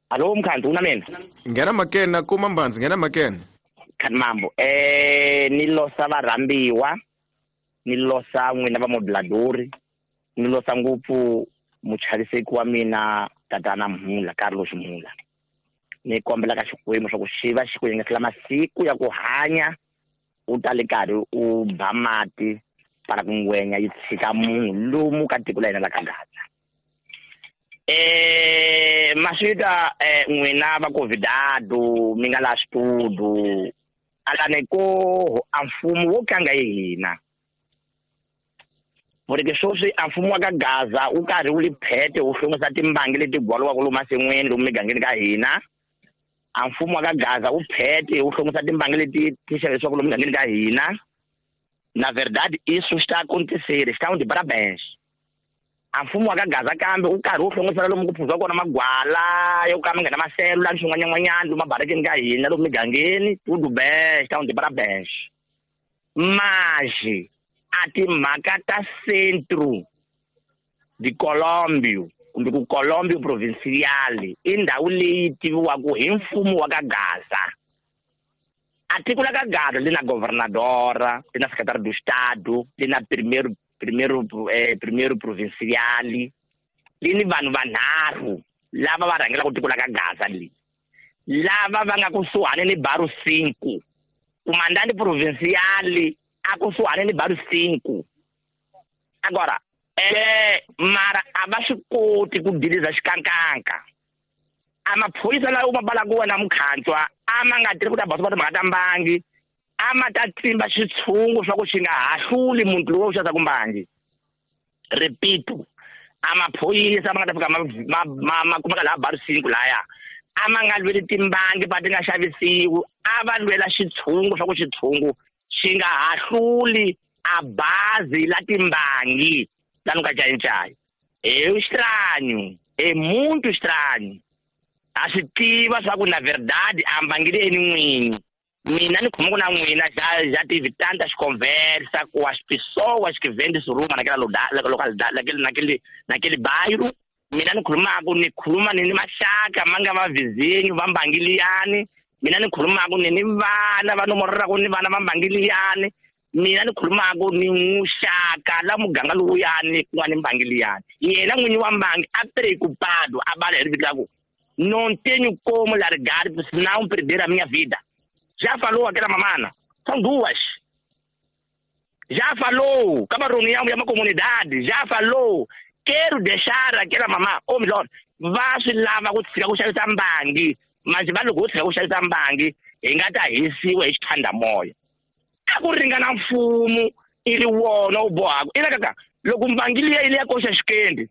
Alo mkhanzi una mina. Nghena makene kuma Mbanzi nghena makene. Khanmambo eh ni losa varhambiwa ni losa n'wina va moduladori ni losa ngopfu muchaviseki wa mina tatana Mhula Carlos Mhula. Ni kombela ka Xikwembu swa ku xi va xi ku yengesela masiku ya ku hanya u ta le karhi u ba mati para ku ngwenya yi tshika munhu lomu ka tiko la hina la ka Gaza. Eh maswita eh n'wina va convidado mi nga la studio alane ko a mfumo wo kanga hi hina. Porque sweswi a mfumo wa ka Gaza wu karhi wu li phete wu hlongisa timbangi leti gwaliwaka lomu masin'wini lomu migangeni ka hina. A mfumo wa ka Gaza wu phete wu hlongisa timbangi leti ti xavisiwaka lomu migangeni ka hina. Na verdade isso está a acontecer, estão de parabéns. A mfumo wa ka Gaza kambe wu karhi wu hlongisela lomu ku phuziwa kona magwala yo ka ma nga na maselula ni swin'wanyan'wanyana lomu mabarakeni ka hina lomu migangeni, tudo bem, estão de parabéns. Mas a timhaka ta centro de Colombio kumbe ku Colombio provincial i ndhawu leyi tiviwaka hi mfumo wa ka Gaza. A tiko la ka Gaza li na governadora, li na secretário do estado, li na primeiro primeiro eh, primeiro provincial, li ni vanhu vanharhu lava va rhangelaka tiko la ka Gaza li lava va nga kusuhani ni Baru cinco. Comandante provincial a kusuhani ni Baru cinco. Agora eh mara a va swi koti ku diliza xikankanka. A maphorisa lawa ma balaka wena mukhantswa a ma nga tirhi ku ta basa timhaka ta mbangi, a ma ta tsimba xitshungu swa ku xi nga hahluli munhu loyi u xavisaka mbangi. Repito, a maphorisa ma nga ta fika ma ma ma kumeka laha Baru cinco laya a ma nga lweli timbangi pa ti nga xavisiwi, a va lwela xitshungu swa ku xitshungu xi nga hahluli a bazi la timbangi la ka cayicayi. É estranho, é muito estranho. A swi tiva swa ku na verdade a mbangi leyi ni n'winyi. Mina ni khoma ku na n'wina já já tive tantas conversa com as pessoas que vendem suruma naquela localidade, naquele naquele naquele bairro. Mina ni khulumaka ni khuluma ni ni maxaka ma nga va vizinho va mbangi liyani. Mina ni khulumaka ni ni vana va nomorelaka ni vana va mbangi liyani. Mina ni khulumaka ni muxaka la muganga lowuyani ku nga ni mbangi liyani. Yena n'winyi wa mbangi a preocupado a bala hi riviti la ku não tenho como largar, senão perder a minha vida. Já falou aquela mamana, são duas. Já falou, acaba reunião de uma comunidade, já falou. Quero deixar aquela mamã, ou melhor, vá se lá, vá kuxavisa mbangi, mas va loko u tshika ku xavisa mbangi hi nga ta hisiwa hi xithandamoya. A ku ringana mfumo i ri wona wu bohaka. I kaka loko mbangi liya yi le ya koxa xikendi,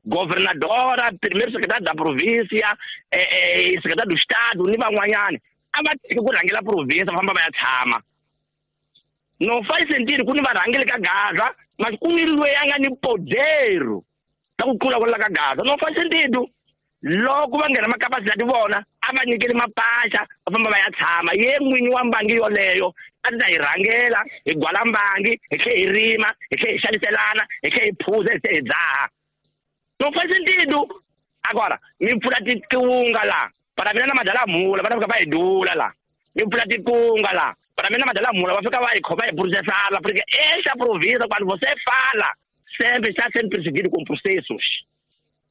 governadora, primeiro secretário da província, eh, eh, secretário do estado, ni van'wanyana a va tiki ku rhangela província va famba va ya tshama. Não faz sentido ku ni varhangeli ka Gaza, mas ku ni loyi a nga ni poder la ku tlula kwala ka Gaza. Não faz sentido. Loko va nghena makapasitati vona a va nyikeli mapasha va famba va ya tshama. Ye n'winyi wa mbangi yoleyo a ti ta hi rhangela, hi gwala mbangi, hi tlhe hi rima, hi tlhe hi xaviselana, hi tlhe hi phuza, hi tlhe hi dzaha. Não faz sentido. Agora, mi pfula tikunga la para mina na madala mula va ta fika va hi dula la. Mi pfula tikunga la para mina na madala mula va fika va hi khoma hi processala, porque essa província quando você fala sempre está sendo perseguido com processos.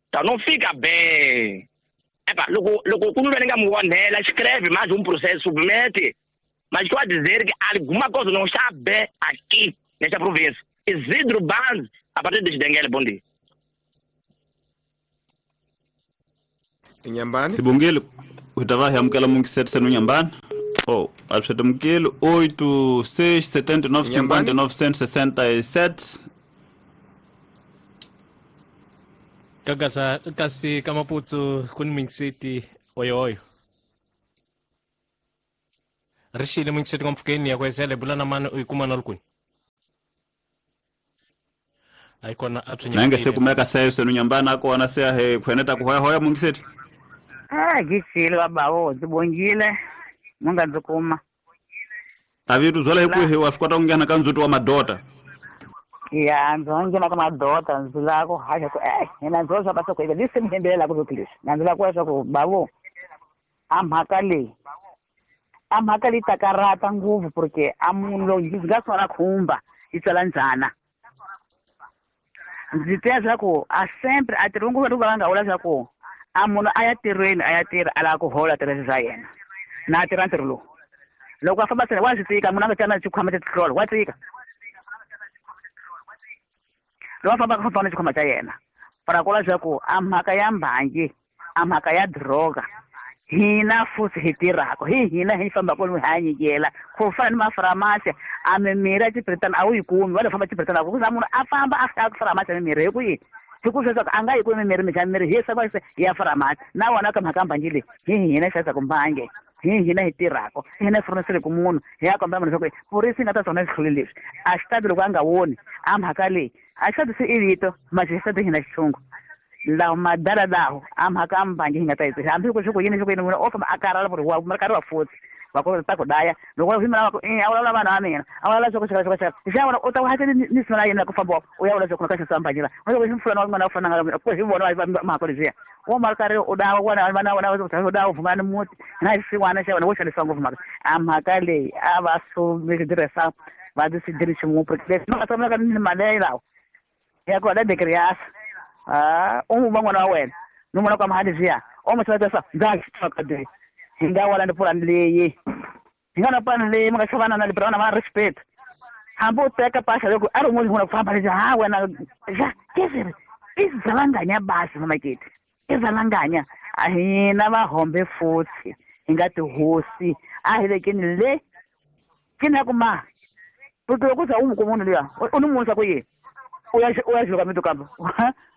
Então não fica bem. Epa, loko loko ku ni nga mu onhela, escreve mais um processo, submete. Mas estou a dizer que alguma coisa não está bem aqui nesta província. Isidro Banz, a partir de Xidengele, bom dia. Inhambane. Sibongile, u ta va hi amukela mungiseti senu Inhambane. Oh, abusetamukeli oito seis setenta e nove cinquenta e nove cento e sessenta e sete. Kagasa kasi kamaputsu kun mingiseti oyo oyo. Ri xile mungiseti mpfukeni ya kwesele bula na mani u yi kuma na lukuni a yi kona a nange se kumeka seyo senu nyambana kona se he khweneta ku hoya hoya mungiseti ah gixile babawo ndzi bongile munga ndzi kuma avitu zola hi wa swi kota ku nghena ka ndzhuti wa madota ya ndzi nghena ka madota ndzi lava ku haxa ku eh hina ndzi swa basa ku ivi lisi mi hembelela ku leswi na ndzi lava ku leswaku bavo a mhaka leyi a mhaka leyi ta karata ngopfu porque a munhu loyi ndzi nga sona khumba yi tswala ndzhana ndzi twa swa ku a sempre a tirhi ngopfu va nga vula swa ku a munhu a ya tirhweni a ya tirha a lava ku hola tirhisa swa yena na tirha ntirho lowu loko a famba sena wa swi tika munhu a nga tshama xikhwama xa tihlolo wa tika loko a famba ka famba na xikhwama xa yena para ku vula ku a mhaka ya mbangi a mhaka ya droga hina futhi hi tirhaka hi hina hi fambaka lomu hi hanyikela ku fana ni mafaramasi a mimirhi ya Xibritani a wu yi kumi va lo famba Xibritani ku za munhu a famba a fika faramasi ya mimirhi hi ku yini hi ku sweswaku a nga yi kumi mimirhi minjhani mirhi hi swa ya faramasi na wona ka mhaka mbangi leyi hi hina xavisaka mbangi hi hina hi tirhaka hi hina hi furniseleke munhu hi ya kombela munhu leswaku purisi yi nga ta tsona swihluli leswi a xi tati loko a nga voni a mhaka leyi a xi tati se i vito manje xi tati hina xitshungu lawo madala lawo a mhaka a mbangi hi nga ta yi tirhisa hambi ku swi ku yini swi ku yini munhu o famba a karhala ku ri wa karhi wa futhi va ku ta ku daya loko himela va ku a vulavula vanhu va mina a vulavula swa ku xaka xaka xaka xa vona u ta hatla ni ni sima yena ku famba u ya vula swa ku ka xisa mbangi la u hi mfulana wa n'wana wa fana nga ku hi vona va mhaka leziya wo ma karhi u dawa wona vana vona u dawa vuma ni muti na xin'wana xa wena wo xanisa ngopfu mhaka a mhaka leyi a va su mi tirhisa va ti swi xin'we porque leswi va tsamelaka ni mali lawo ya ku da dekriasa ah u va n'wana wa wena ni vona ka mahali ziya o mo tsaka ndza xitsaka de hi nga wala ni pulani leyi hi nga na pulani leyi mi nga xavana na libra na respect hambi u teka pasha loko a ri n'wana ku famba lexi ha wena ja kesiri i zalanganya basi mamaketi i zalanganya a hina vahombe futhi hi nga tihosi a hi vekeni le ke na ku ma porque loko za u n'wi kuma munhu luya u ni musa ku yini u ya u ya xiluka mito kambe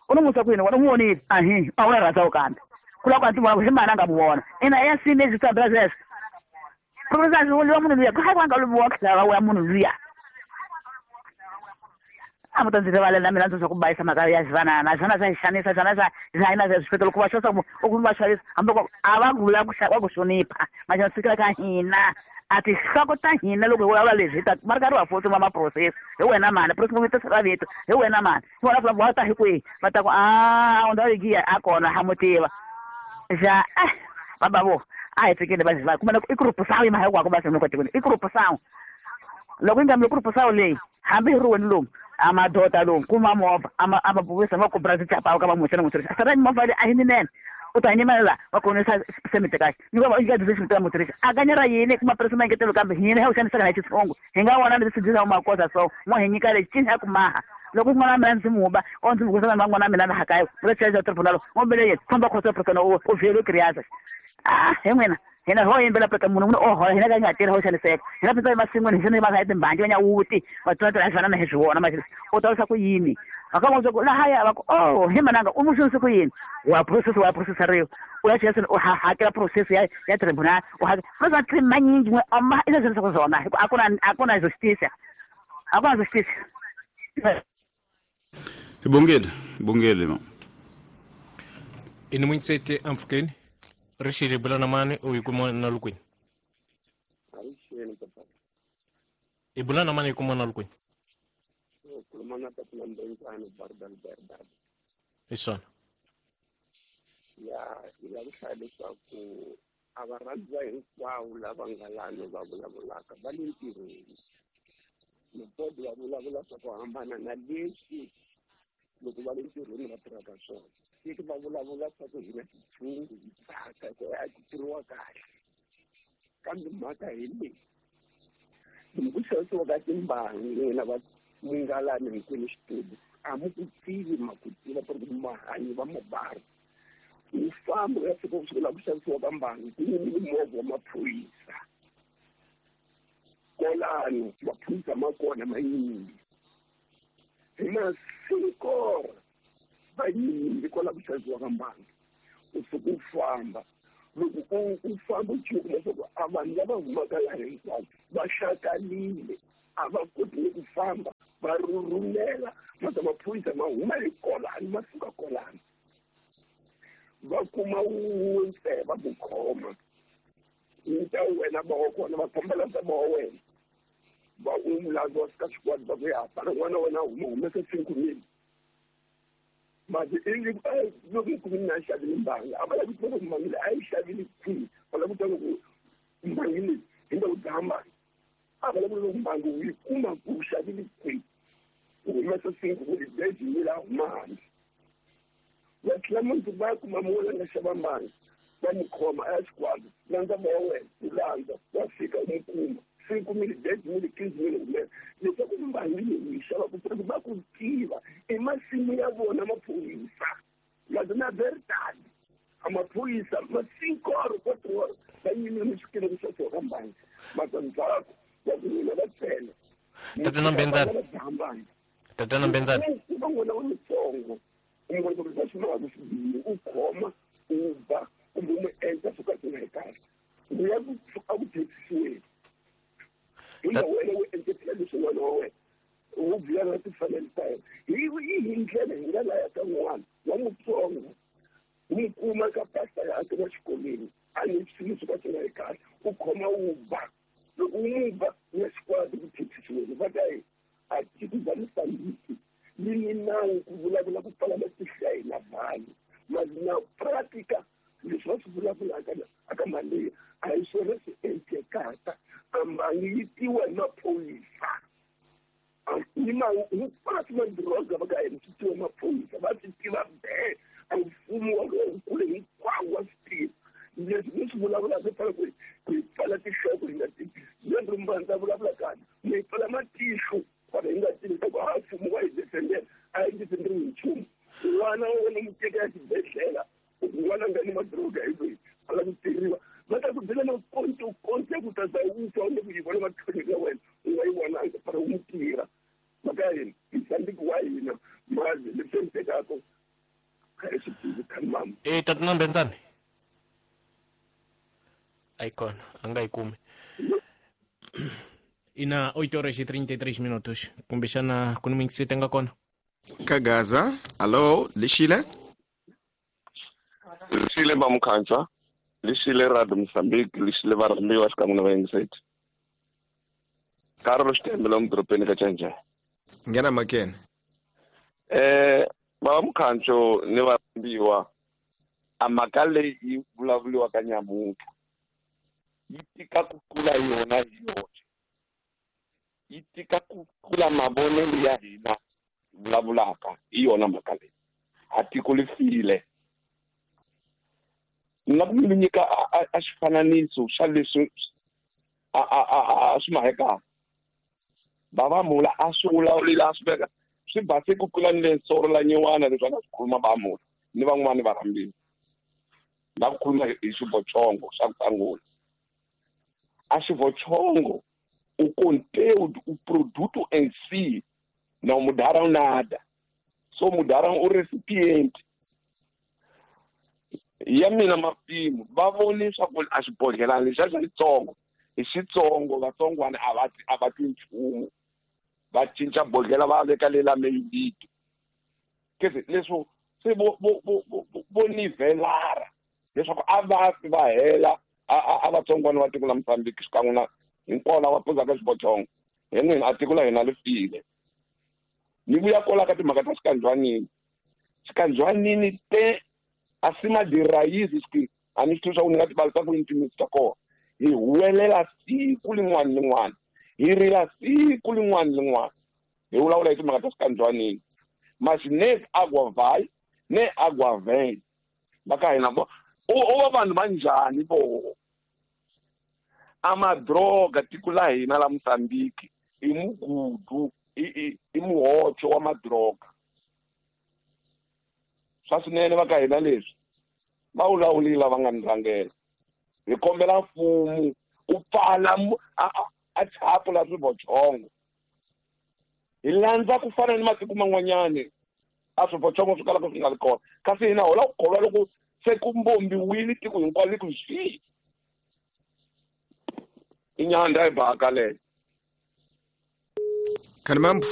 u ni musa ku yini wena u n'wi vonile ahi a wu na rhandza kambe ku lava ku a ti vona ku hi mani a nga mu vona ina ya sini lexi sambela sweswo profesa luya munhu luya ku hayi ku a nga lumiwa khilava wa munhu luya a mu ta ndzi rivalela mina ndzi swa ku bayisa mhaka ya xivanana swona swa hi xanisa swona swa swa hina swa loko va xavisa u kuma va xavisa hambi loko a va vula ku va ku hlonipha manje fikela ka hina a tinhloko ta hina loko hi vulavula leswi hi ta va ri karhi va futhi va ma-process hi wena mani process ta sala vito hi wena mani hi wena fula va ta hi kwihi va ta ku a u ndhawu yi a kona ha mu tiva ja eh baba vo a hi fikile va va kuma i group sawu yima hinkwako va swi tikweni i group sawu loko yi nga mi group sawu leyi hambi hi ri wena lomu amadota lomu kuma movha ama amabuvisa va kubra tichapa ka va musa na mutirhisa sara movha leyi a hi ninene u ta nyimela la va konisa semite kahle ni va yi nga dzi xi mutirhisa a kanyera yini kuma presi ma engetelo kambe hina hi xanisaka na xitsongo hi nga vona leswi dzi makosa so mo hi nyika lexi cini ya ku maha loko n'wana wa mina ndzi muba o ndzi mukusa na n'wana wa mina laha kaya u la xaxa tribunal o mbele yena famba khosa prokana o o vhelo kriasa ah he n'wina hina ho yimbela preka munhu munhu o hola hina ka nga tirhi ho xaniseka hina pindza emasin'wini hi xana va hi timbangi va nyawuti va tlula tirha fana na hi swi vona manje u ta wisa ku yini va ka n'wi ku lahaya va ku oh hi mananga u mu xanise ku yini wa process wa processariwa u ya xiyasini u hakela process ya ya tribunal u hakela va swa manyingi n'we ama i swa ku zona hi ku a ku na a ku na justice a ku na justice Ibongile ibongile ma ini munsete amfukeni rishile bulana mani u yikuma na lukwini ibulana mani yikuma na lukwini isona ya ila leswaku a va rhandza hinkwavo lava nga lani va vulavulaka va le ntirhweni mupodi va vulavula swa ku hambana na leswi loko va le ntirhweni va tirhaka swona tiki va vulavula swa ku hina titshungu hi tsaka ku a ti tirhiwa kahle kambe mhaka hi leyi loko ku xavisiwa ka timbangi n'wina va mungalani hinkwenu xitudu a mu ku tivi ma ku tiva ku ri mahanyi va mabari u famba u ya fika ku sukela ku xavisiwa ka mbangi ku yimile movha wa maphorisa kolano maphorisa ma kona ma yimile hi masinkora va yimile kwala ku xavisiwa ka mbangi u suka u famba Loko u u famba u kuma leswaku a vanhu lava humaka laha hinkwavo va xakanile a va koti ni ku famba va rhurhumela mata maphorisa ma huma hi kolani ma suka kolani va kuma wun'we ntsena va ku khoma wu ta wena va wa kona va famba la va wa wena va u landza wa fika xikwadi va ku ya para n'wana wa wena huma humesa cinco mil mati loko yi kumile na xavile mbangi a va lavi ku tiva ku mbangi leyi a yi xavile kwihi va lava ku tiva ku mbangi leyi hi nga ku dlaya mbangi a va lava ku loko mbangi u yi kuma ku u xavile kwihi u humesa cinco mil beji mil a huma handle va tlhela mundzuku va ya kuma munhu la nga xava mbangi va n'wi khoma a ya xikwadi landza va wa wena u landza wa fika u n'wi kuma cinco mil dez mil quinze mil humesa leswaku mbangi leyi u yi xavaka ku va ku tiva i masimu ya vona maphorisa lazo na verdade a maphorisa ma cinco horas quatro horas va yimile mi xikele ku xaviwa ka mbangi mata ndzhaku va ku n'wina va tsena Tatana Mbenzani. Tatana Mbenzani. Va n'wana wa mutsongo u n'wi vona ku va swi lavaka swi bihile u khoma u ba kumbe u n'wi endla swo ka swi nga ri kahle u ya ku a ku thethisiweni hi nga wena u endletela leswi n'wana wa wena u biya na timfanelo ta yena hi hi ndlela hi nga laya ka n'wana wa mutsongo u n'wi kuma ka pasta yakhe wa xikolweni a ni swilo swo ka swi nga ri kahle u khoma u ba loko u n'wi ba u ya xikwadi ku thethisiweni va ta yi a tiko bya Mozambique li ni nawu ku vulavula ku pfala matihlo ya hina vanhu na pratica leswi va swi vulavulaka aka mali a hi swona swi endlekaka a mbangi yi tiwa hi maphorisa ni ma hinkwaswo madoroba va ka hina swi tiwa maphorisa va swi tiva be a mfumo wa kule hinkwawo wa swi tiva leswi mi swi vulavulaka hi fanele ku hi pfala tinhloko hi nga tivi lero mbanza vulavula kahle mi hi pfala matihlo kwala hi nga tivi leswaku a mfumo wa hi defendela a hi defenderiwi hi nchumu n'wana wa wena mu teka ya xibedhlele n'wana nga ni madroga hi loyi a lava ku tirhiwa va ta ku byela na konto konto ku ta za u twa u le ku yi vona matlhonyo ya wena u nga yi vonanga fana u n'wi tirha mhaka ya hina Mozambique wa hina mazi leswi endlekaka a hi swi tivi khani mama. Eh Tatana Mbenzani a yi kona a nga yi kumi ina oito horas e trinta e três minutos kumbexana ku ni muyingiseti nga kona ka Gaza. Allo Lixile. Lixile va Mukhansa, Lixile Radio Mozambique, Lixile va rhambiwa xikan'we na vayingiseti. Carlos Xitembe lomu dorobeni ka Chanjani. Nghena makene. Eh va Mukhanso ni va rhambiwa a mhaka leyi yi vulavuriwaka nyamuntlha yi tika ku tlula yona hi yoxe, yi tika ku tlula mavonelo ya hina vulavulaka hi yona mhaka leyi a tiko li file. Ni nga ku mi nyika a xifananiso xa leswi a a a swi mahekaka va mula a swi vulavulile a swi veka swi base ku tlula ni le nsoro la nyiwana leswi a nga swi khuluma va mula ni van'wani va rhambiwa la ku khuluma hi xivochongo xa ku sangula a xivochongo o conteúdo, o produto em si não mudaram nada, só mudaram o recipiente. Ya mina mapimo va vonisa ku a xibodhlelani lexiya xa xitsongo hi xitsongo vatsongwana a va a va twi nchumu va cinca bodhlela va veka lela meyilito kese leswo se vo vo vo vo nivelara leswaku a va fi va hela a a vatsongwana va tiko la Mozambique xikan'we na hinkwavo lava puzaka xibochongo hi n'wina a tiko la hina li file. Ni vuya kwala ka timhaka ta xikandzwanini xikandzwanini te acima de raízes que a ni swi tivi swa ku ni nga ti valisa ku yini timitsu ta kona hi huwelela siku lin'wana ni lin'wana hi rila siku lin'wana ni lin'wana hi vulavula hi timhaka ta xikandzwanini mas ne água vai ne água vem va ka hina vo o va vanhu va njhani vo a madroga tiko la hina la Mozambique i mugudu i i muhocho wa madroga swa swinene va ka hina leswi va vulavulile lava nga ni rhangela hi kombela mfumo u pfala a thapu la swivochongo hi landza ku fana ni matiko man'wanyani a swivochongo swi kalaka swi nga ri kona kasi hina ho lava ku kholwa loko Se ku mbombiwile tiko hinkwaro ku swi. I nyanda hi baka leyo. Khanimambu.